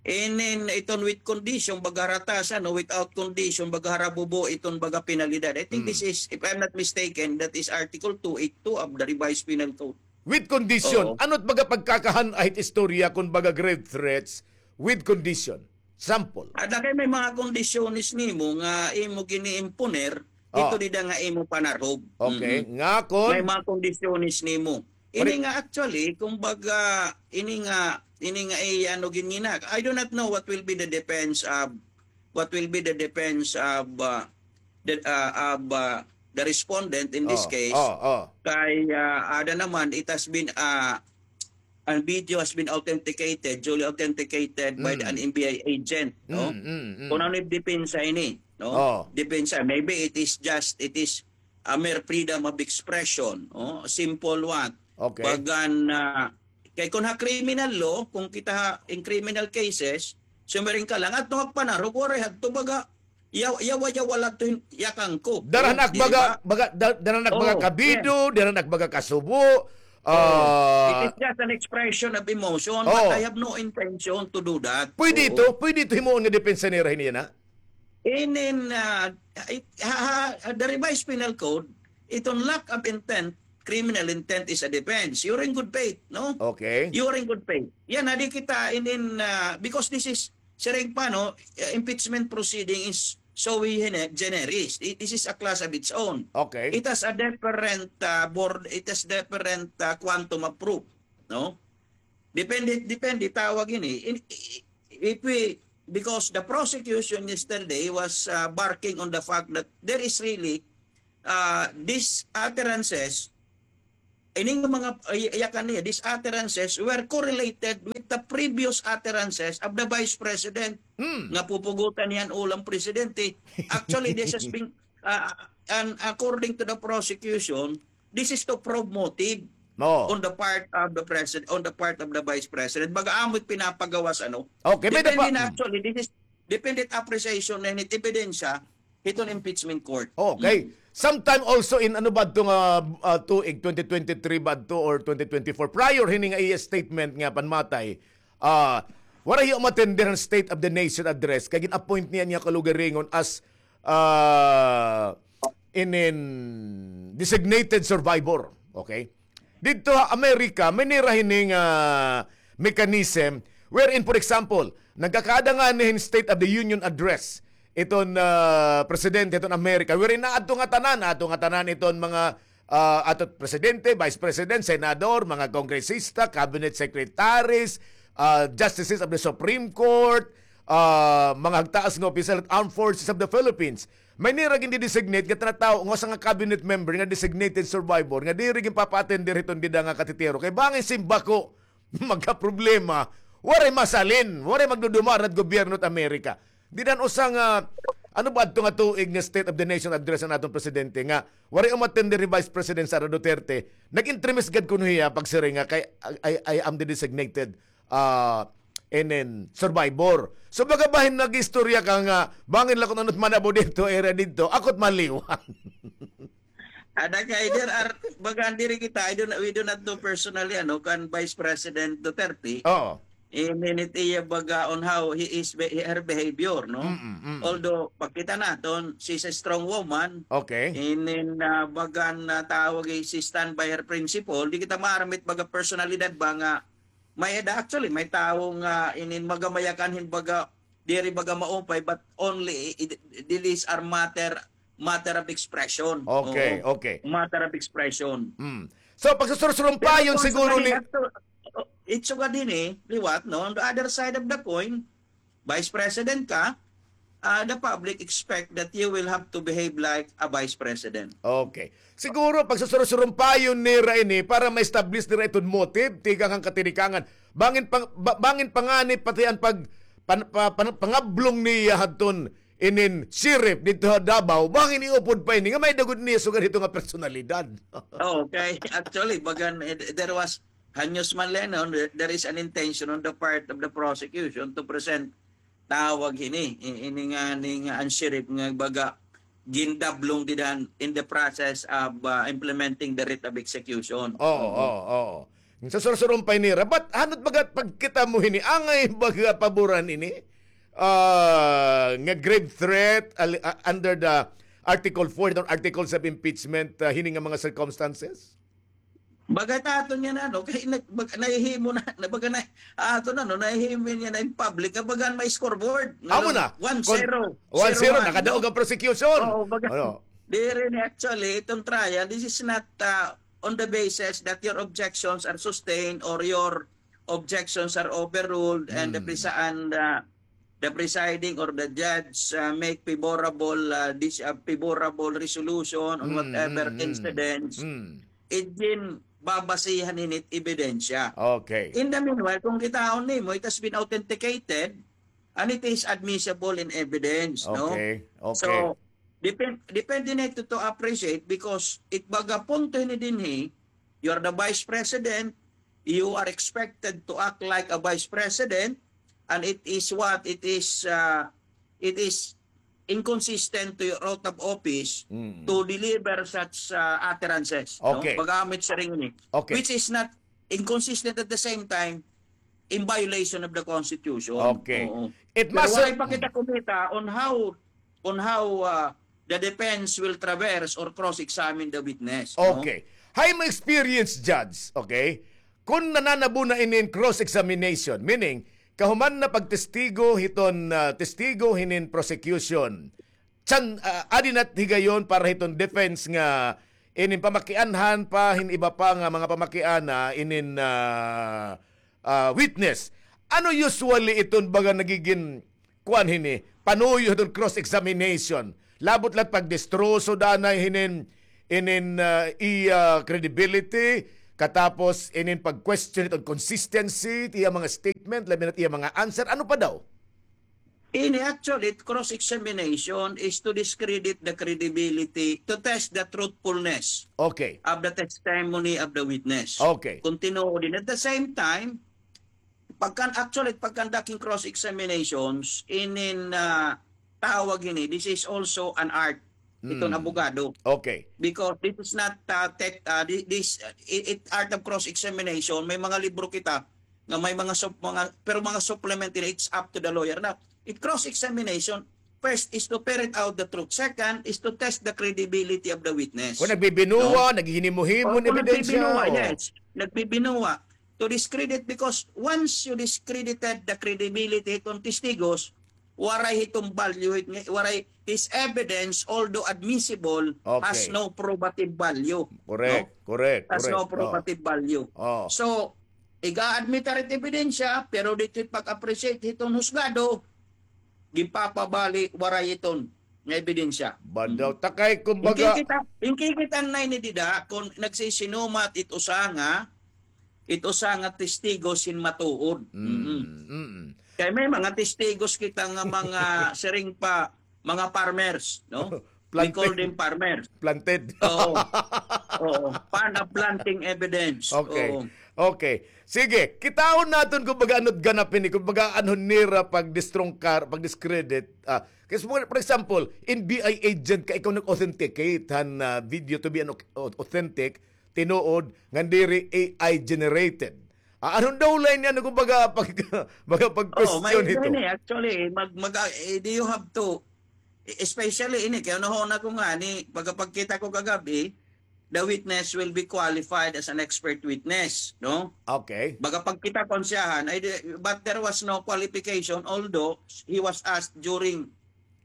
Inin iton with condition, baga hara taas, ano, without condition, baga hara bubo iton baga penalidad. I think, mm, this is, if I'm not mistaken, that is Article two eight two of the Revised Penal Code. With condition. Oo. Ano it baga pagkakahan-a hit istorya kon baga grave threats with condition? Sample. Ada kay may mga kondisyones nimo nga imo giniimponer, oh, didto dida nga imo panarhob. Okay. Mm-mm. Nga kon? May mga kondisyones nimo. Ini nga actually, kumbaga, ini nga, ini nga, eh, ano, ginina. I do not know what will be the defense of, what will be the defense of, uh, the, uh, of, uh, the respondent in this case. Oh, oh. Kay, uh, ada naman, it has been, uh, an video has been authenticated, duly authenticated by the, mm, an N B I agent, no? Mm, mm, mm. Kon ano it depensa ini, no? Oh. Depensa, maybe it is just, it is a mere freedom of expression, oh, simple one. Okay. Bagan, ah, kay kon ha criminal law, kon kita ha, in criminal cases, sumiring ka la nga adto magpanarog, waray hadto baga, yaw-, yawa-yawa la adto hin-, yakan ko. Dara han ak baga, baga, da-, dara han ak baga kabido, dara han ak baga kasubo. Oo. Ah, it is just an expression of emotion, but I have no intention to do that. Pwede ito, pwede ito himuon nga depensa nira hini yana? Inin, ah, it, ha, ha, ha, the Revised Penal Code, iton lack of intent, criminal intent is a defense. You're in good faith, no? Okay. You're in good faith. Yana, di kita inin, ah, because this is, siring pa, no, eh, impeachment proceeding is sui gene-, generis. It, this is a class of its own. Okay. It has a different, uh, board, it has different, uh, quantum of proof, no? Depende, depende, tawag ini. In, if we, because the prosecution yesterday was, uh, barking on the fact that there is really, uh, these utterances, ini nga mga, ay-, yakan niya, these utterances were correlated with the previous utterances of the Vice President. Hmm. Nga pupugutan niya an ulo han presidente. Actually, this has been, uh, and according to the prosecution, this is to probe motive. Oo. On the part of the president, on the part of the vice president. Baga amo it pinapagawas, ano? Okay, may Depende napa- na, actually, this is depende it appreciation na it ebidensya hiton impeachment court. Okay. Hmm. Sometime also in, ano ba ito nga, ah, tuig, twenty twenty-three ba ito or twenty twenty-four, prior hini nga iya statement nga panmatay, ah, waray hiya umatender han State of the Nation Address, kay gin-appoint niya niya kalugaringon as, ah, inin designated survivor. Okay? Didto ha Amerika, may nira hini nga mechanism wherein, for example, nagkakada ngani hin State of the Union Address iton, ah, presidente hiton Amerika, wherein aadto ngatanan, aadto ngatanan iton mga, ah, aadto presidente, vice president, senador, mga kongresista, cabinet secretaries, ah, justices of the Supreme Court, ah, mga hagtaas nga opisyal han Armed Forces of the Philippines. May nira gindedesignate nga tinatawo nga usa nga cabinet member nga designated survivor nga diri ginpapa-attender hiton dida nga katitiro. Kay bangin simbako, magkaproblema, waray masalin, waray magdudumara han gobyerno han Amerika. Dida han usa nga, ano ba adto nga tuig nga State of the Nation Address han aton presidente nga waray umattender hi Vice President Sara Duterte, nag-entremis gad kuno hiya pagsiring nga kay, "I, I am the designated, ah, inin survivor." So, baga bahin nag-istorya ka nga, bangin la kun ano it manabo didto, area didto, ako it maliwan. Ada kay there are, baga diri kita, I do not, we do not know personally, ano, kan Vice President Duterte. Oo. Inin it iya baga on how he is be-, her behavior, no? Mm, mm. Although, pagkita naton, she's a strong woman. Okay. Inin, ah, bagan, ah, tawag, eh, she stand by her principle. Di kita maaram it baga personalidad ba nga may eda, actually, may tawo nga inin magamayakan hin baga, diri baga maupay, but only i-, i-, these are matter, matter of expression. Okay, Oo. Okay. Matter of expression. Mm. So, pagsusursurumpayon Pero kung siguro sa ni kanila, actually, it sugad hini, liwat, no? On the other side of the coin, Vice President ka, ah, the public expect that you will have to behave like a Vice President. Okay. Siguro, pagsusursurumpayon nira ini para ma-establish nira iton motive, tikang han katinikangan. Bangin pang-, ba-, bangin pa ngani pati an pag-, pan-, pa-, pan-, pangablong niya hadton inin sheriff didto ha Davao, bangin iupod pa ini nga may-ada gud niya sugad hito nga personalidad. Okay. Actually, bagan, eh, there was Hanyos man la, no, there, there is an intention on the part of the prosecution to present tawag hini, i-, ini nga, ni nga an sheriff nga baga gindablong dida han in the process of, uh, implementing the writ of execution. Oo, oo, oo. Sa sursurumpay nira, but hanot baga pagkita mo hini, angay baga paboran ini, ah, nga grave threat, ali-, ah, under the Article four or articles of impeachment, ah, hini nga mga circumstances? Baga ta aton yan, ano, kay nag-, bag-, nahihimo na, na baga na, aton, ano, nahihimo niya na in public, nga baga may scoreboard. Amo na. One zero. One zero, nakadaog an prosecution. Oo, baga. Ano? Diri ni actually, itong trial, this is not, uh, on the basis that your objections are sustained or your objections are overruled and the Mm. presa-, and, uh, the presiding or the judge, uh, make favorable, uh, dis-, uh, favorable resolution on Mm, whatever mm, mm. incidents, Mm. it ginbabasihan hini it ebidensya. Okay. In the meanwhile, kung kitaon nimo, it has been authenticated and it is admissible in evidence, no? Okay, okay. So, depen-, depende na ito to appreciate because it baga punto hini dinhi, you are the vice president, you are expected to act like a vice president, and it is what? It is, uh, it is inconsistent to your oath of office Mm. to deliver such, uh, utterances, no? Okay. Pag-amit siring ini. Okay. Which is not inconsistent at the same time in violation of the Constitution. Okay. Oo. It Pero must waray pa kita kumita on how, on how, uh, the defense will traverse or cross-examine the witness, no? Okay. Hay mo experience, Judge, okay? Kun nananabo na inin cross-examination, meaning, kahuman na pagtestigo hiton, ah, testigo hinin prosecution, San, ah, adi na higayon para hiton defense nga inin pamakianhan pa hin iba pa nga mga pamakiana inin, ah, ah, witness. Ano usually iton baga nagigin kuan hini, panuyo hiton cross-examination? Labot la pagdestroso danay hinin, inin, ah, iya credibility, katapos inin pag-question hiton consistency, iya mga statement, labi na iya mga answer. Ano pa daw? Ini actually, cross-examination is to discredit the credibility, to test the truthfulness Okay. of the testimony of the witness. Okay. Continue din. At the same time, pagkan-, actually, pagkandaking cross-examinations, inin, ah, tawag ini, this is also an art. Iton Mm. abogado. Okay. Because this is not, ah, tech, ah, thi-, this, ah, it, it art of cross-examination, may mga libro kita nga may mga sup-, mga, pero mga supplement ini, it's up to the lawyer. Now, it cross-examination, first is to ferret out the truth. Second is to test the credibility of the witness. Kung nagbibinuwa, No? naghihinimo-himo O, hin kung ebidensya, nagbibinuwa, o. yes. Nagbibinuwa. To discredit, because once you discredited the credibility hiton testigos, waray hiton value, hit-, waray, his evidence, although admissible, has Okay. no probative value. Correct, No? correct, Has no correct. Oh. probative value. Oh. So, iga-admit hit ebidensya, pero didto pag-appreciate hiton husgado, ginpapabali, waray iton nga ebidensya. Badaw, Mm. takay, kumbaga Inkikita, inkikita na ini dida, kung nagsisinumat it usa nga, it usa nga testigo sin matuod. Mm, Mm. mm. Kay may mga testigos kita nga mga siring pa, mga farmers, no? We Planted. call them farmers. Planted. Oo. Oo. Pan-, planting evidence. Okay. Oo. Okay. Sige, kitaon naton kung baga ano't ganap ini, kung baga ano nira pagdistrungkar, pagdiscredit. Ah, kasi for, for example, N B I agent ka, ikaw nag-authenticate han, ah, video to be an au-, authentic, tinuod, nga diri A I generated. Ah, anong daw line niya, ano, kung baga, pag, baga pag Oo, question may ito? ini, actually, mag-, mag-, eh, do you have to, especially ini, kaya nahuna ko nga ni, pagkapagkita ko kagabi, the witness will be qualified as an expert witness, no? Okay. Baga pagkita ko siyahan, ay, di-, but there was no qualification, although he was asked during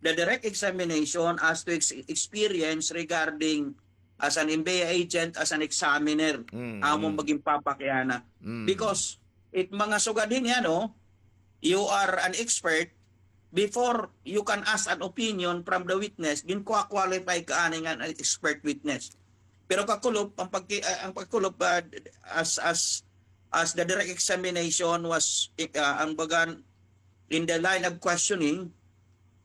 the direct examination as to ex-, experience regarding as an N B I agent, as an examiner, Mm, amo mm. magin papakiana. Mm. Because it mga sugad hini, ano, you are an expert, before you can ask an opinion from the witness, ginkuha-qualify ka ani nga an expert witness. Pero kakulop, ang pagki-, ah, ang pagkulop, ah, as, as, as the direct examination was, ah, ang bagan, in the line of questioning,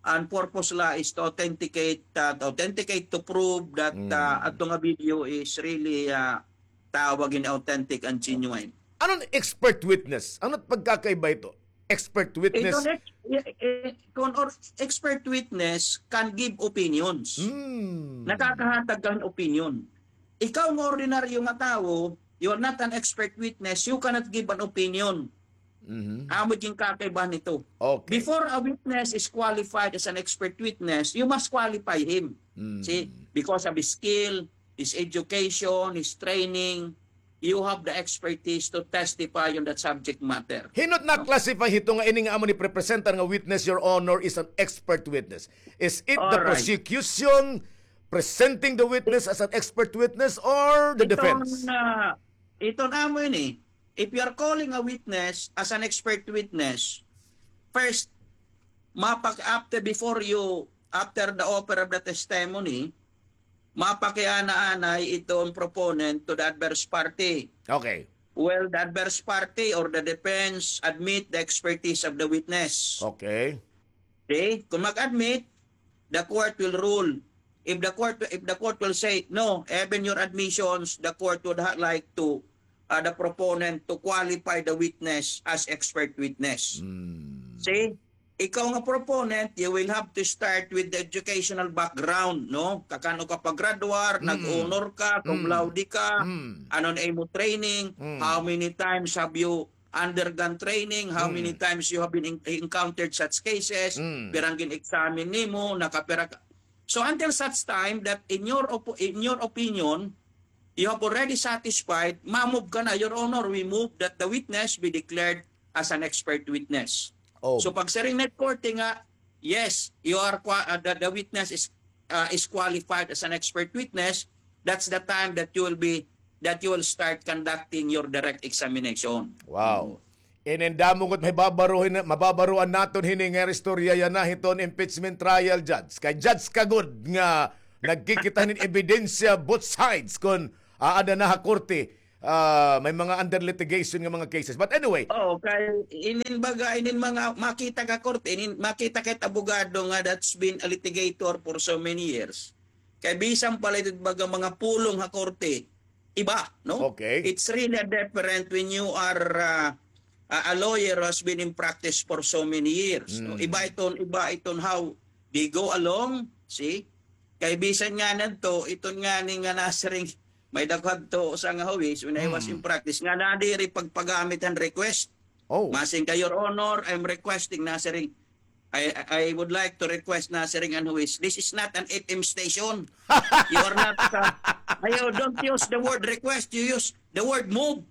an purpose la is to authenticate, ah, to authenticate, to prove that, Mm. ah, adto nga video is really, ah, tawag ini authentic and genuine. Ano an expert witness? Ano it pagkakaiba ito? Expert witness. Ito, ex-, eh, eh, kung or-, expert witness can give opinions. Hmm. Nakakahatag ka hin opinion. Ikaw nga ordinaryo nga tawo, you are not an expert witness, you cannot give an opinion. Mhm. Amo it ginkakaibahan nito. Okay. Before a witness is qualified as an expert witness, you must qualify him. Mm. See, because of his skill, his education, his training, you have the expertise to testify on that subject matter. Hin-o it na-classify hito nga ini nga amo ni prepresentar nga witness, Your Honor, is an expert witness? Is it the Alright. prosecution presenting the witness as an expert witness or the Iton, defense? ah, iton amo ini, if you are calling a witness as an expert witness, first, mapak-, after, before you, after the offer of the testimony, mapakiana anay iton proponent to the adverse party. Okay. Well, the adverse party or the defense admit the expertise of the witness. Okay. Okay? Kung mag-admit, the court will rule. If the court, if the court will say, "No, even your admissions, the court would ha-, like to, uh, the proponent to qualify the witness as expert witness." Hmm. See? Ikaw nga proponent, you will have to start with the educational background, no? Kakan-o ka paggraduar, Mm. nag-honor ka, cum Mm. laude ka, Mm. ano na imo training, Mm. how many times have you undergone training, how many Mm. times you have been en-, encountered such cases, Mm. pirang gin-examine nimo, nakapira ka. So until such time that in your opo-, in your opinion, you have already satisfied, ma-move ka na, Your Honor, we move that the witness be declared as an expert witness. Oh. So pag siring na korte nga, yes, you are qua- uh, the, the witness is uh, is qualified as an expert witness, that's the time that you will be that you will start conducting your direct examination. Wow. Inin damo gud mababaruhin, mababaruan naton hini nga istorya yana hiton impeachment trial, Judge. Kay Judge ka gud nga nagkikita hinin ebidensya both sides kon aada na ha korte, ah, may mga under litigation nga mga cases. But anyway. Oo, kay inin baga, inin mga makita ka korte, inin makita ka abogado nga that's been a litigator for so many years. Kay bisan pala ito baga mga pulong ha korte, iba, no? Okay. It's really a different when you are uh, a lawyer who has been in practice for so many years. Mm. No? Iba iton, iba iton how they go along, see? Kay bisan nga nanto, iton nga ni nga nasiring, may daghan to sa nga huwis when I was mm. in practice, nga nadiri pagpagamit han request. Oh. Masing ka, Your Honor, I'm requesting nasiring, I, I would like to request na siring an huwis, this is not an F M station. You are not, uh, ayaw, don't use the word request, you use the word move.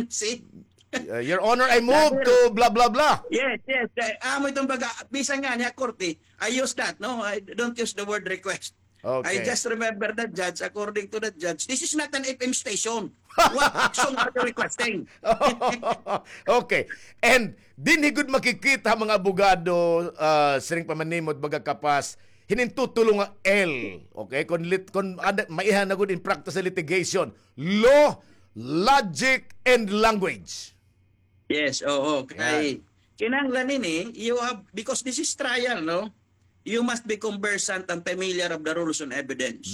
See? Uh, Your Honor, I move to blah, blah, blah. Yes, yes. Uh, amo itong baga, bisan nga niya korte, I use that, no? I don't use the word request. Okay. I just remember the judge, according to the judge, this is not an F M station. What action are you requesting? Okay. And dinhi gud makikita mga abogado, ah, siring pa man nimo, baga kapas, hinin tutulo nga L. Okay? Kon lit, kon ada, maiha na gud in practice sa litigation. Law, logic, and language. Yes, oo. Kay kinahanglan ini, you have, because this is trial, no? You must be conversant and familiar of the rules on evidence.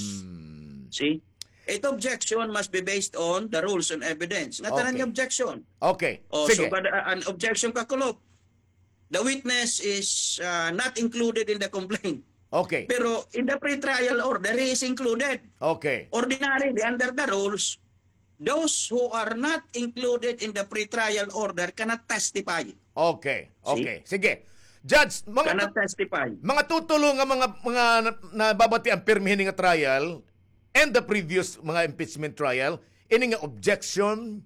See? It objection must be based on the rules on evidence. Nga tanan nga objection. Okay. Oh, sige. So, an objection kakulop. The witness is uh, not included in the complaint. Okay. Pero in the pretrial order, he is included. Okay. Ordinarily, under the rules, those who are not included in the pretrial order cannot testify. Okay. Okay. Sige. Judge, mga cannot testify. Mga tutulo nga mga mga nababati ang pirmi hini nga trial and the previous mga impeachment trial, ini nga objection,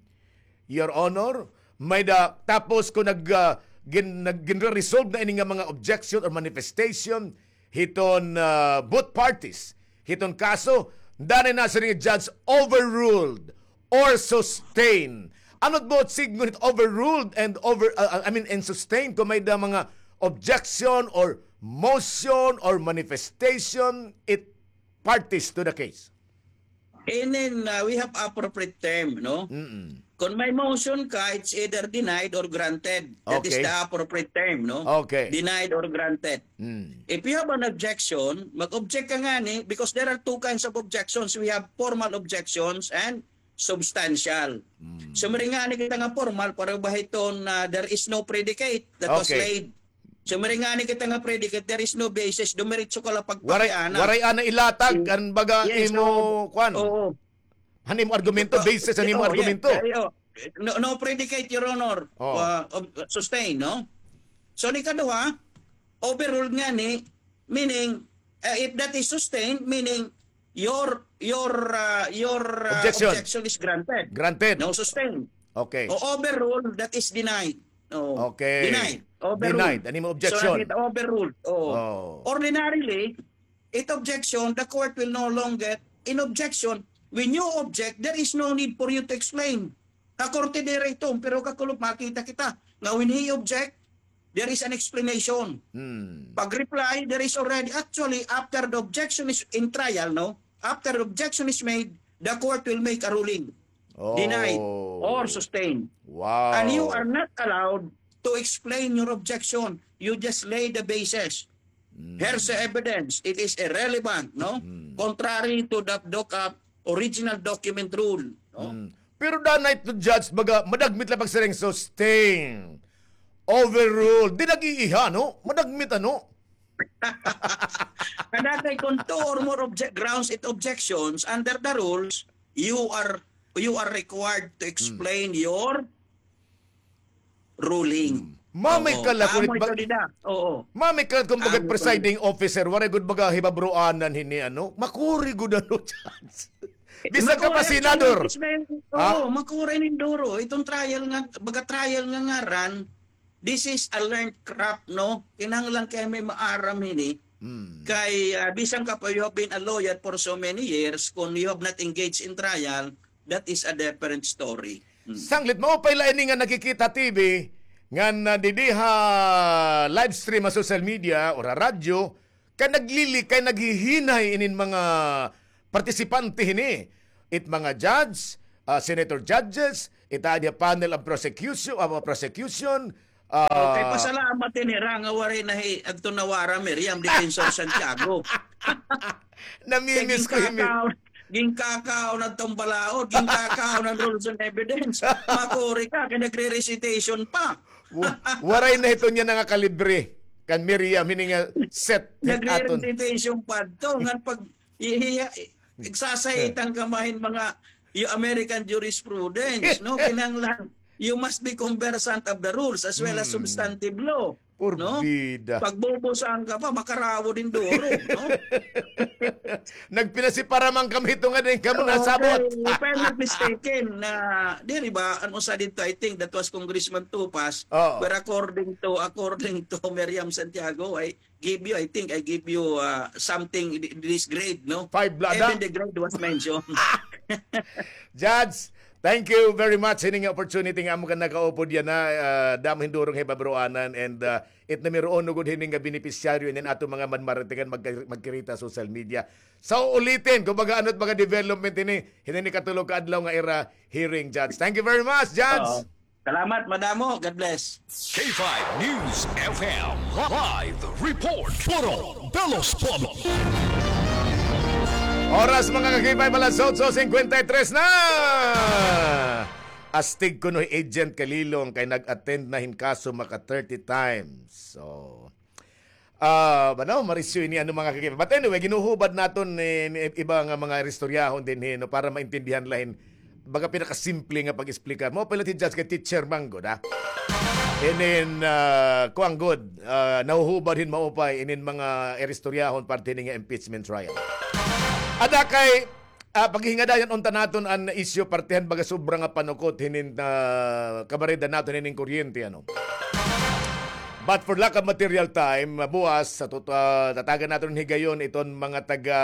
Your Honor, may da, tapos kung nag, uh, gin, nag, ginre-resolve na ini nga mga objection or manifestation, hiton uh, both parties hiton kaso, danay na siring judge overruled or sustained. Ano it buot sidngon hit overruled and over uh, I mean and sustained kung may da mga objection or motion or manifestation it parties to the case? And then uh, we have appropriate term, no? Mm-mm. Kung may motion ka, it's either denied or granted. That okay. is the appropriate term, no? Okay. Denied or granted. Mm. If you have an objection, mag-object ka ngani because there are two kinds of objections. We have formal objections and substantial. Mm. So, mari ngani kita nga formal, para ba hiton uh, there is no predicate that okay. was laid. So, mari ngani kita nga predicate, there is no basis, dumiretso ka la pagpakiana. Waray, waray ana ilatag, an baga yes, imo, no. Kwan. Oo. Han imo argumento, basis han imo argumento. No, no predicate, Your Honor. Oh. Uh, sustain, no? So, ni kaduha, overruled ngani, meaning, uh, if that is sustained, meaning your your uh, your uh, objection. objection is granted. Granted. No sustain. Okay. O overruled, that is denied. No. Okay. Denied. Overruled. Denied. Ano yung objection? So, it overruled. Oh. Oh. Ordinarily, it objection, the court will no longer in objection. When you object, there is no need for you to explain. Kakorte diri ito, pero kakulop makita kita. Nga when he object, there is an explanation. Hmm. Pag-reply, there is already, actually, after the objection is in trial, no? After the objection is made, the court will make a ruling. Oh. Denied or sustained. Wow. And you are not allowed to explain your objection. You just lay the basis. Mm. Here's the evidence. It is irrelevant, no? Mm. Contrary to the DOCAP original document rule, no? Mm. Pero danay to judge, baga, madagmit la pagsiring sustain. Overrule. Di nag-iiha, no? Madagmit, ano? Kadatay kung two or more object grounds it objections under the rules, you are you are required to explain hmm. your ruling. Hmm. Mamay ka la kulit ba? Oo. Mamay ka la kung bagat presiding officer, waray gud baga hibabruanan hini ano, makuri gud ano chance. Bisan ka pa senador. Oo, makuri nin duro. Itong trial nga, baga trial nga ngaran, This is a learned craft, no? Kinahanglan kay may maaram hini. Hmm. Kay, ah, bisan ka pa, you have been a lawyer for so many years, kung you have not engaged in trial, that is a different story. Hmm. Sanglit, maupay la ini nga nakikita T V, ngan, ah, didi ha live stream ha social media or ha radyo, kay naglili-, kay naghihinay inin mga partisipante hini. It mga judge, ah, senator judges, it adi ha panel of prosecution, of prosecution, ah, okay, pasalamat ini ra nga waray na hi Anton Navarra, Miriam, Defensor Santiago. Namimiss ko hini. Kay ginkakaon, ginkakaon adtong balaod, ginkakaon an rules and evidence. Makuri ka, kay nagre-recitation pa. Wa-, waray na hito niya nga kalibre kan Miriam, hini nga set. Nagre-recitation pa adto, ngan pag ihiya, igsasaitan ka mahin mga, yung American jurisprudence, no? Kinahanglan, you must be conversant of the rules as well as substantive law. Porbida. Pagbubusahan ka pa, makarawod hin duro, no? Nagpinasipara man kami hito nga din kamo nasabot. Okay, if I'm not mistaken, na, diri ba, ano sa dito, I think that was Congressman Tupas, where according to, according to Miriam Santiago, I give you, I think I give you, ah, something, th-, this grade, no? Five la, da. Even the grade was mentioned. Judge, thank you very much hini nga opportunity nga amo ka nakaupod yana, ah, damo hin duro nga hibabaroanan, and, ah, it numero uno gud hini nga benepisyaryo inin aton mga manmaratigan magka-, magkirita social media. Sa uulitin, kumbaga, ano it mga development hini, hini katulo ka adlaw nga ira hearing, Judge. Thank you very much, Judge. Oo. Salamat, madamo. God bless. K five News F M live report. Puro de los Pueblos. Oras, mga ka-K five, alas otso cincuenta y tres na. Astig kuno hi Agent Kalilong kay nag-attend na hin kaso maka thirty times. So, ah, ano, marisyo ini, ano, mga ka-K five. But anyway, ginuhubad naton ni, ni iba nga mga istoryahon dinhi, no, para maintindihan la hin baga pinakasimple nga pag-explicar. Maupay la hi Judge kay teacher man gud, ha? Inin, ah, kuan gud, ah, nahuhubad hin maupay inin mga istoryahon parte hini nga impeachment trial. Ada kay, ah, paghingadayan unta naton an isyu parte han baga sobra nga panukot hinin, ah, kabareda naton hinin kuryente, ano. But for lack of material time, ah, buwas, sa tut-, ah, tatagan naton higayon iton mga taga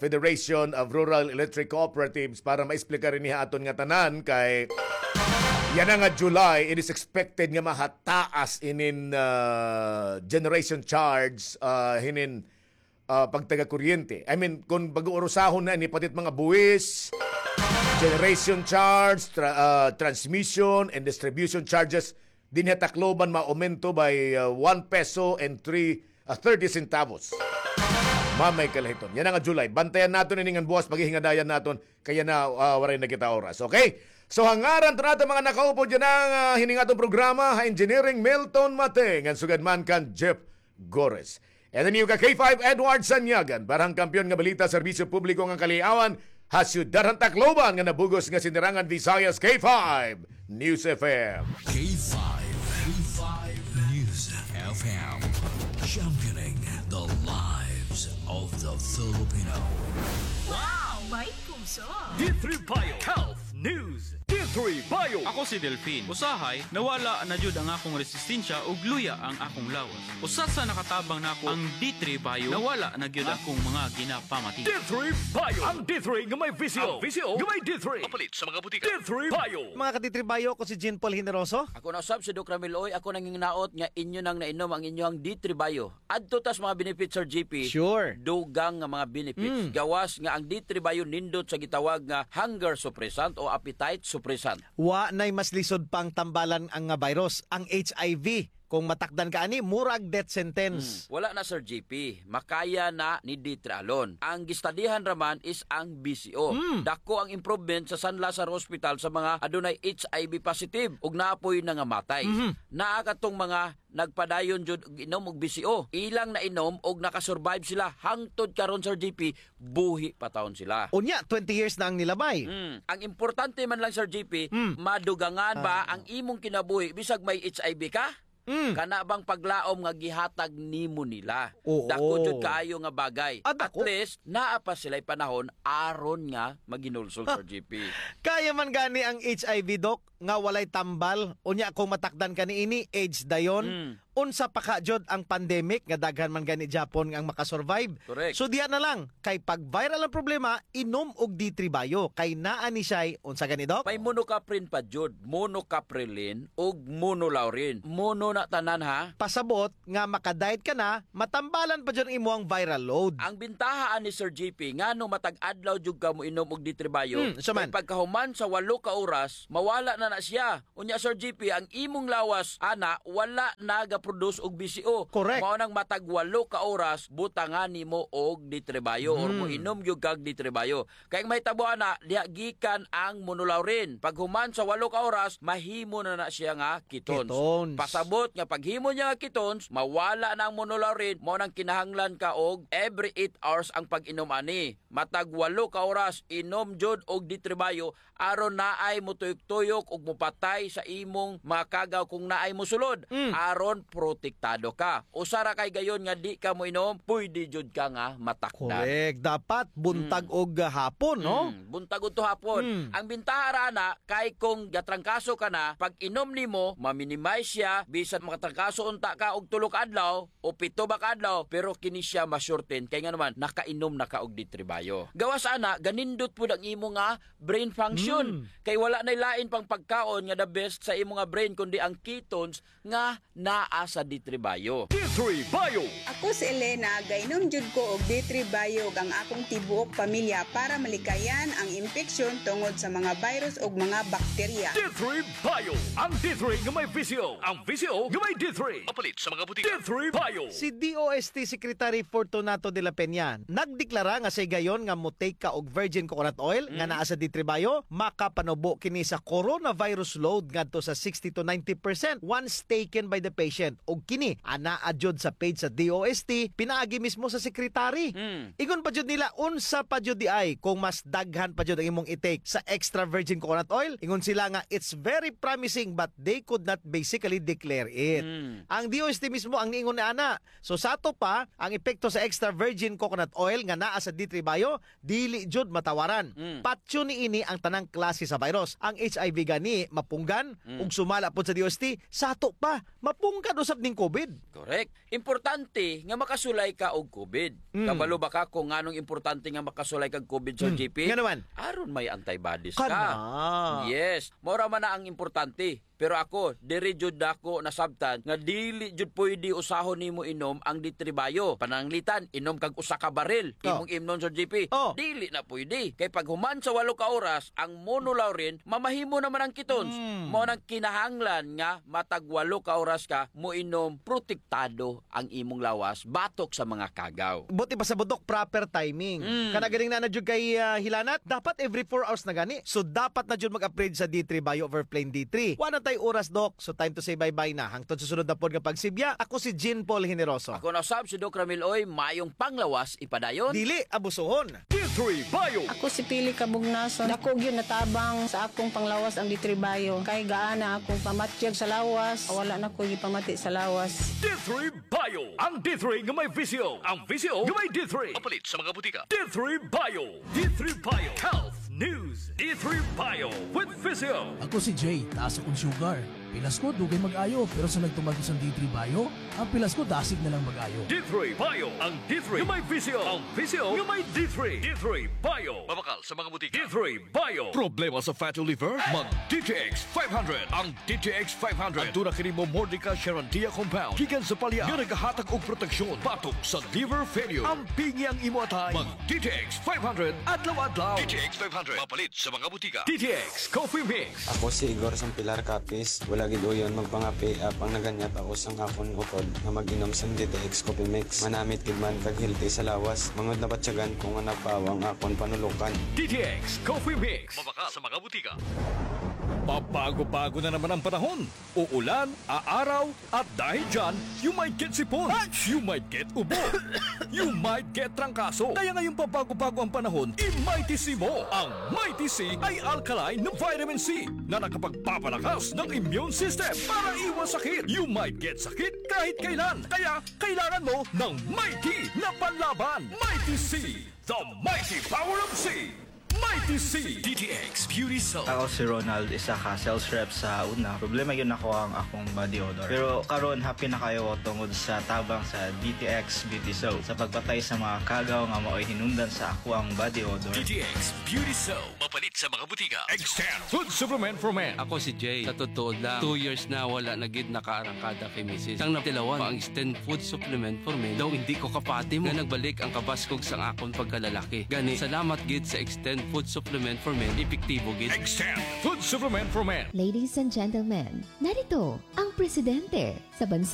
Federation of Rural Electric Cooperatives para maexplicar ini ha aton ngatanan kay yana nga July, it is expected nga mahataas inin, ah, generation charge, ah, hinin ah, pagtaga kuryente. I mean, kon pag-uurusahon na ini, pati mga buwis, generation charge, tra-, ah, transmission and distribution charges, dinhi ha Tacloban, maaumento by, ah, one peso and three, ah, thirty centavos. Mamay kalahiton. Yana nga July. Bantayan naton ini ngan buwas, paghihingadayan naton. Kay yana, ah, waray na kita oras. Okay? So, ha ngaran ta naton mga nakaupod yana nga, ah, hini nga aton programa, ha engineering Milton Mate, ngan sugad man kan Jeff Gores. And the new ka K five, Edward Sanyagan, para han kampiyon nga balita, serbisyo publiko ngan kaliawan, ha siyudad han Tacloban nga nabug-os nga sinirangan, Visayas, K five News F M. K five, K five News F M, championing the lives of the Filipino. Wow! May puso! D three Bio Health News. D three Bio. Ako si Delfin. Usahay, nawala na jud ang akong resistensya ug luya ang akong lawas. Usa sa nakatabang nako ang D three Bio, nawala na gyud akong mga ginapamati. D three Bio. Ang D three nga may V C O. Ang V C O nga may D three. Mapalit sa mga butika. D three Bio. Mga ka-D three Bio, ako si Jean Paul Generoso. Ako na usab si Doc Ramil Oy. Ako nanghinaot nga inyo nang nainom ang inyong D three Bio. Adto tas mga benefits, Sir G P. Sure. Dugang nga mga benefits. Mm. Gawas nga ang D three Bio nindot sa gitawag nga hunger suppressant o appetite suppressant. Wa nay mas lisod pang tambalan ang nga virus, ang H I V. Kung matakdan ka ani, murag death sentence. Mm. Wala na, Sir G P. Makaya na ni D three alone. Ang gistadihan ra man is ang V C O. Mm. Dako ang improvement sa San Lazaro Hospital sa mga adunay H I V positive ug naa poy nangamatay. Mhm. Naa katong mga nagpadayon jud og inom og V C O. Ilang nainom og nakasurvive sila hangtod karon, Sir G P, buhi pa tawon sila. Unya, twenty years na ang nilabay. Mm. Ang importante man lang, Sir G P, mm, madugangan ba, ah, ang imong kinabuhi bisag may H I V ka? Mm. Kana bang paglaom nga gihatag nimo nila? Oo. Dako jud kaayo nga bagay. Ah, dako. At least, naa pa sila'y panahon aron nga maghinulsol, Sir G P. Kaya man gani ang H I V, Doc, nga walay tambal. Unya kung matakdan ka niini, AIDS dayon. Mm. Unsa pa ka jud ang pandemic nga daghan man gani gihapon nga ang makasurvive. Correct. So diha na lang, kay pag viral ang problema, inom og D three Bio. Kay naa ni siya'y, unsa gani, Doc? May monocaprin pa jud, monocaprilin ug monolaurin. Mono na tanan, ha? Pasabot nga makadiet ka na, matambalan pa jud ang imuhang viral load. Ang bintaha ani, Sir G P, ngano matag adlaw jud ka moinom og D three Bio, hmm, so man, kay pagkahuman sa walo ka oras, mawala na na siya. Unya, Sir G P, ang imong lawas, ana, wala nagaproduce og B C O. Correct. Mao nang matag walo ka oras, butangan nimo og D three Bio or, hmm, moinom gyud kag D three Bio. Kay ang mahitabo ana, diha gikan ang monolaurin. Paghuman sa walo ka oras, mahimo na na siya nga ketones. Ketones. Pasabot nga paghimo niya nga ketones, mawala na ang monolaurin, mao nang kinahanglan ka og every eight hours ang pag-inom ani. Matag walo ka oras, inom jud og D three Bio, aron naay motuyok-tuyok ug mopatay sa imong mga kagaw kung naay mosulod, mm, aron protektado ka. Usa ra kay gayon nga di ka moinom, pwede jud ka nga matakdan. Correct. Dapat buntag, mm, og hapon, no? Mm, buntag udto hapon. Mm. Ang bintaha ra ana kay kung gatrangkaso ka na, pag inom nimo, ma-minimize siya, bisan makatrangkaso unta ka og tulo ka adlaw, o pito ba ka adlaw, pero kini siya ma-shorten. Kay ngano man, nakainom na ka og D three Bio. Gawas ana, ganindot pud ang imo nga brain function. Mm. Kay wala nay lain pang pagkaon nga the best sa imo nga brain, kundi ang ketones nga naa sa D three Bio. D three Bio. Ako si Elena, gainom jud ko og D three Bio ug ang akong tibuok pamilya para malikayan ang impeksyon tungod sa mga virus ug mga bakterya. D three Bio. Ang D three nga may V C O. Ang V C O nga may D three. Mapalit sa mga butika. D three Bio. Si D O S T Secretary Fortunato de la Peña nagdeklara nga sa higayon nga mo-take ka og virgin coconut oil nga, mm, naa sa D three Bio, makapanubo kini sa coronavirus load ngadto sa sixty to ninety percent once taken by the patient. Ug kini, anaa jud sa page sa D O S T, pinaagi mismo sa secretary. Mm. Ingon pa jud nila, unsa pa jud diay kung mas daghan pa jud ang imong i-take sa extra virgin coconut oil? Ingon sila nga, it's very promising but they could not basically declare it. Mm. Ang D O S T mismo ang niingon ni ana. So, sato pa, ang epekto sa extra virgin coconut oil nga naa sa D three Bio, dili jud matawaran. Mm. Patyon niini ang tanang klase sa virus. Ang H I V gani, mapunggan, mm, ug sumala pod sa D O S T, sato pa, mapunggan usab ning COVID. Correct. Importante nga makasulay ka og COVID. Mm. Kabalo ba ka kung nganong importante nga makasulay kag COVID, Sir, mm, G P? Ngano man? Aron may antibodies ka. Kana. Yes. Mao ra man na ang importante. Pero ako, diri jud nako nasabtan nga dili jud pwede usahon nimo inom ang D three Bio. Pananglitan, inom kag usa ka baril. Oh. Imong imnon, Sir G P. Oh. Dili na pwede. Kay paghuman sa walo ka oras, ang monolaurin, mamahimo naman ang ketones. Mm. Mao nang kinahanglan nga matag walo ka oras ka moinom, protektado ang imong lawas batok sa mga kagaw. Buot ipasabot, Doc, proper timing. Mm. Kana ganing na na jud kay, ah, hilanat, dapat every four hours na gani. So, dapat na jud mag-upgrade sa D three Bio over plain D three. Wa na tay oras, Doc. So, time to say bye-bye na. Hangtod sa sunod na pod nga pagsibya, ako si Jean Paul Generoso. Ako na usab si Doc Ramil Oy, mayong panglawas ipadayon. Dili abusuhon. D three Bio. Ako si Pili Kabugnason. Dako gyud natabang sa akong panglawas ang D three Bio. Kay gaana akong pamatyag sa lawas, wala na ko gipamati sa lawas. D three Bio. Ang D three nga may V C O. Ang V C O nga may D three. Mapalit sa mga butika. D three Bio. D three Bio. Health News. D three Bio with V C O. Ako si Jay, taas akong sugar. Pilas ko, dugay mag-ayo, pero sa nagtuman ko sa D three Bio, ang pilas ko dasig na lang mag-ayo. D three Bio, ang D three nga may V C O. Ang V C O nga may D three. D three Bio. Mabakal sa mga butika. D three Bio. Problema sa fatty liver? Mag D T X five hundred. Ang D T X five hundred. Aduna kini momordica charantia compound gikan sa palya nga nagahatag og proteksyon batok sa liver failure. Ampingi ang imo atay. Mag D T X five hundred adlaw-adlaw. D T X five hundred. Mapalit sa mga butika. D T X Coffee Mix. Ako si Igor Sampilar Capiz. Wala gid uyon magpangape, apang naganyat ako sang akon utod nga mag-inom sang D T X Coffee Mix. Manamit gid man kag healthy sa lawas. Mangud nabatyagan ko nga napawa ang akon panulukan. D T X Coffee Mix. Mabakal sa mga butika. Pabago-bago na naman ang panahon. Uulan, aaraw, at dahil dyan, you might get sipon, you might get ubo, you might get trangkaso. Kaya ngayong pabago-bago ang panahon, i-Mighty C mo. Ang Mighty C ay alkaline na vitamin C na nakapagpapalakas ng immune system para iwas sakit. You might get sakit kahit kailan. Kaya kailangan mo ng Mighty na panlaban. Mighty C, the mighty power of C. Mighty C. D T X Beauty Soap. Ako si Ronald, isa ka sales rep sa una. Problema gyud nako ang akong body odor. Pero karon, happy na kaayo ko tungod sa tabang sa D T X Beauty Soap sa pagpatay sa mga kagaw nga maoy hinungdan sa akoang body odor. D T X Beauty Soap. Mapalit sa mga butika. Extend Food Supplement for Men. Ako si Jay. Sa totoo lang, two years na wala na gid nakaarangkada kay misis. Sang natilawan pa ang Extend Food Supplement for Men, daw indi ko kapati mo nga nagbalik ang kabaskog sang akon pagkalalaki. Gani, salamat gid sa Extend Food Supplement for Men, epektibo gid. Extend Food Supplement for Men. Ladies and gentlemen, narito ang presidente sa bansa.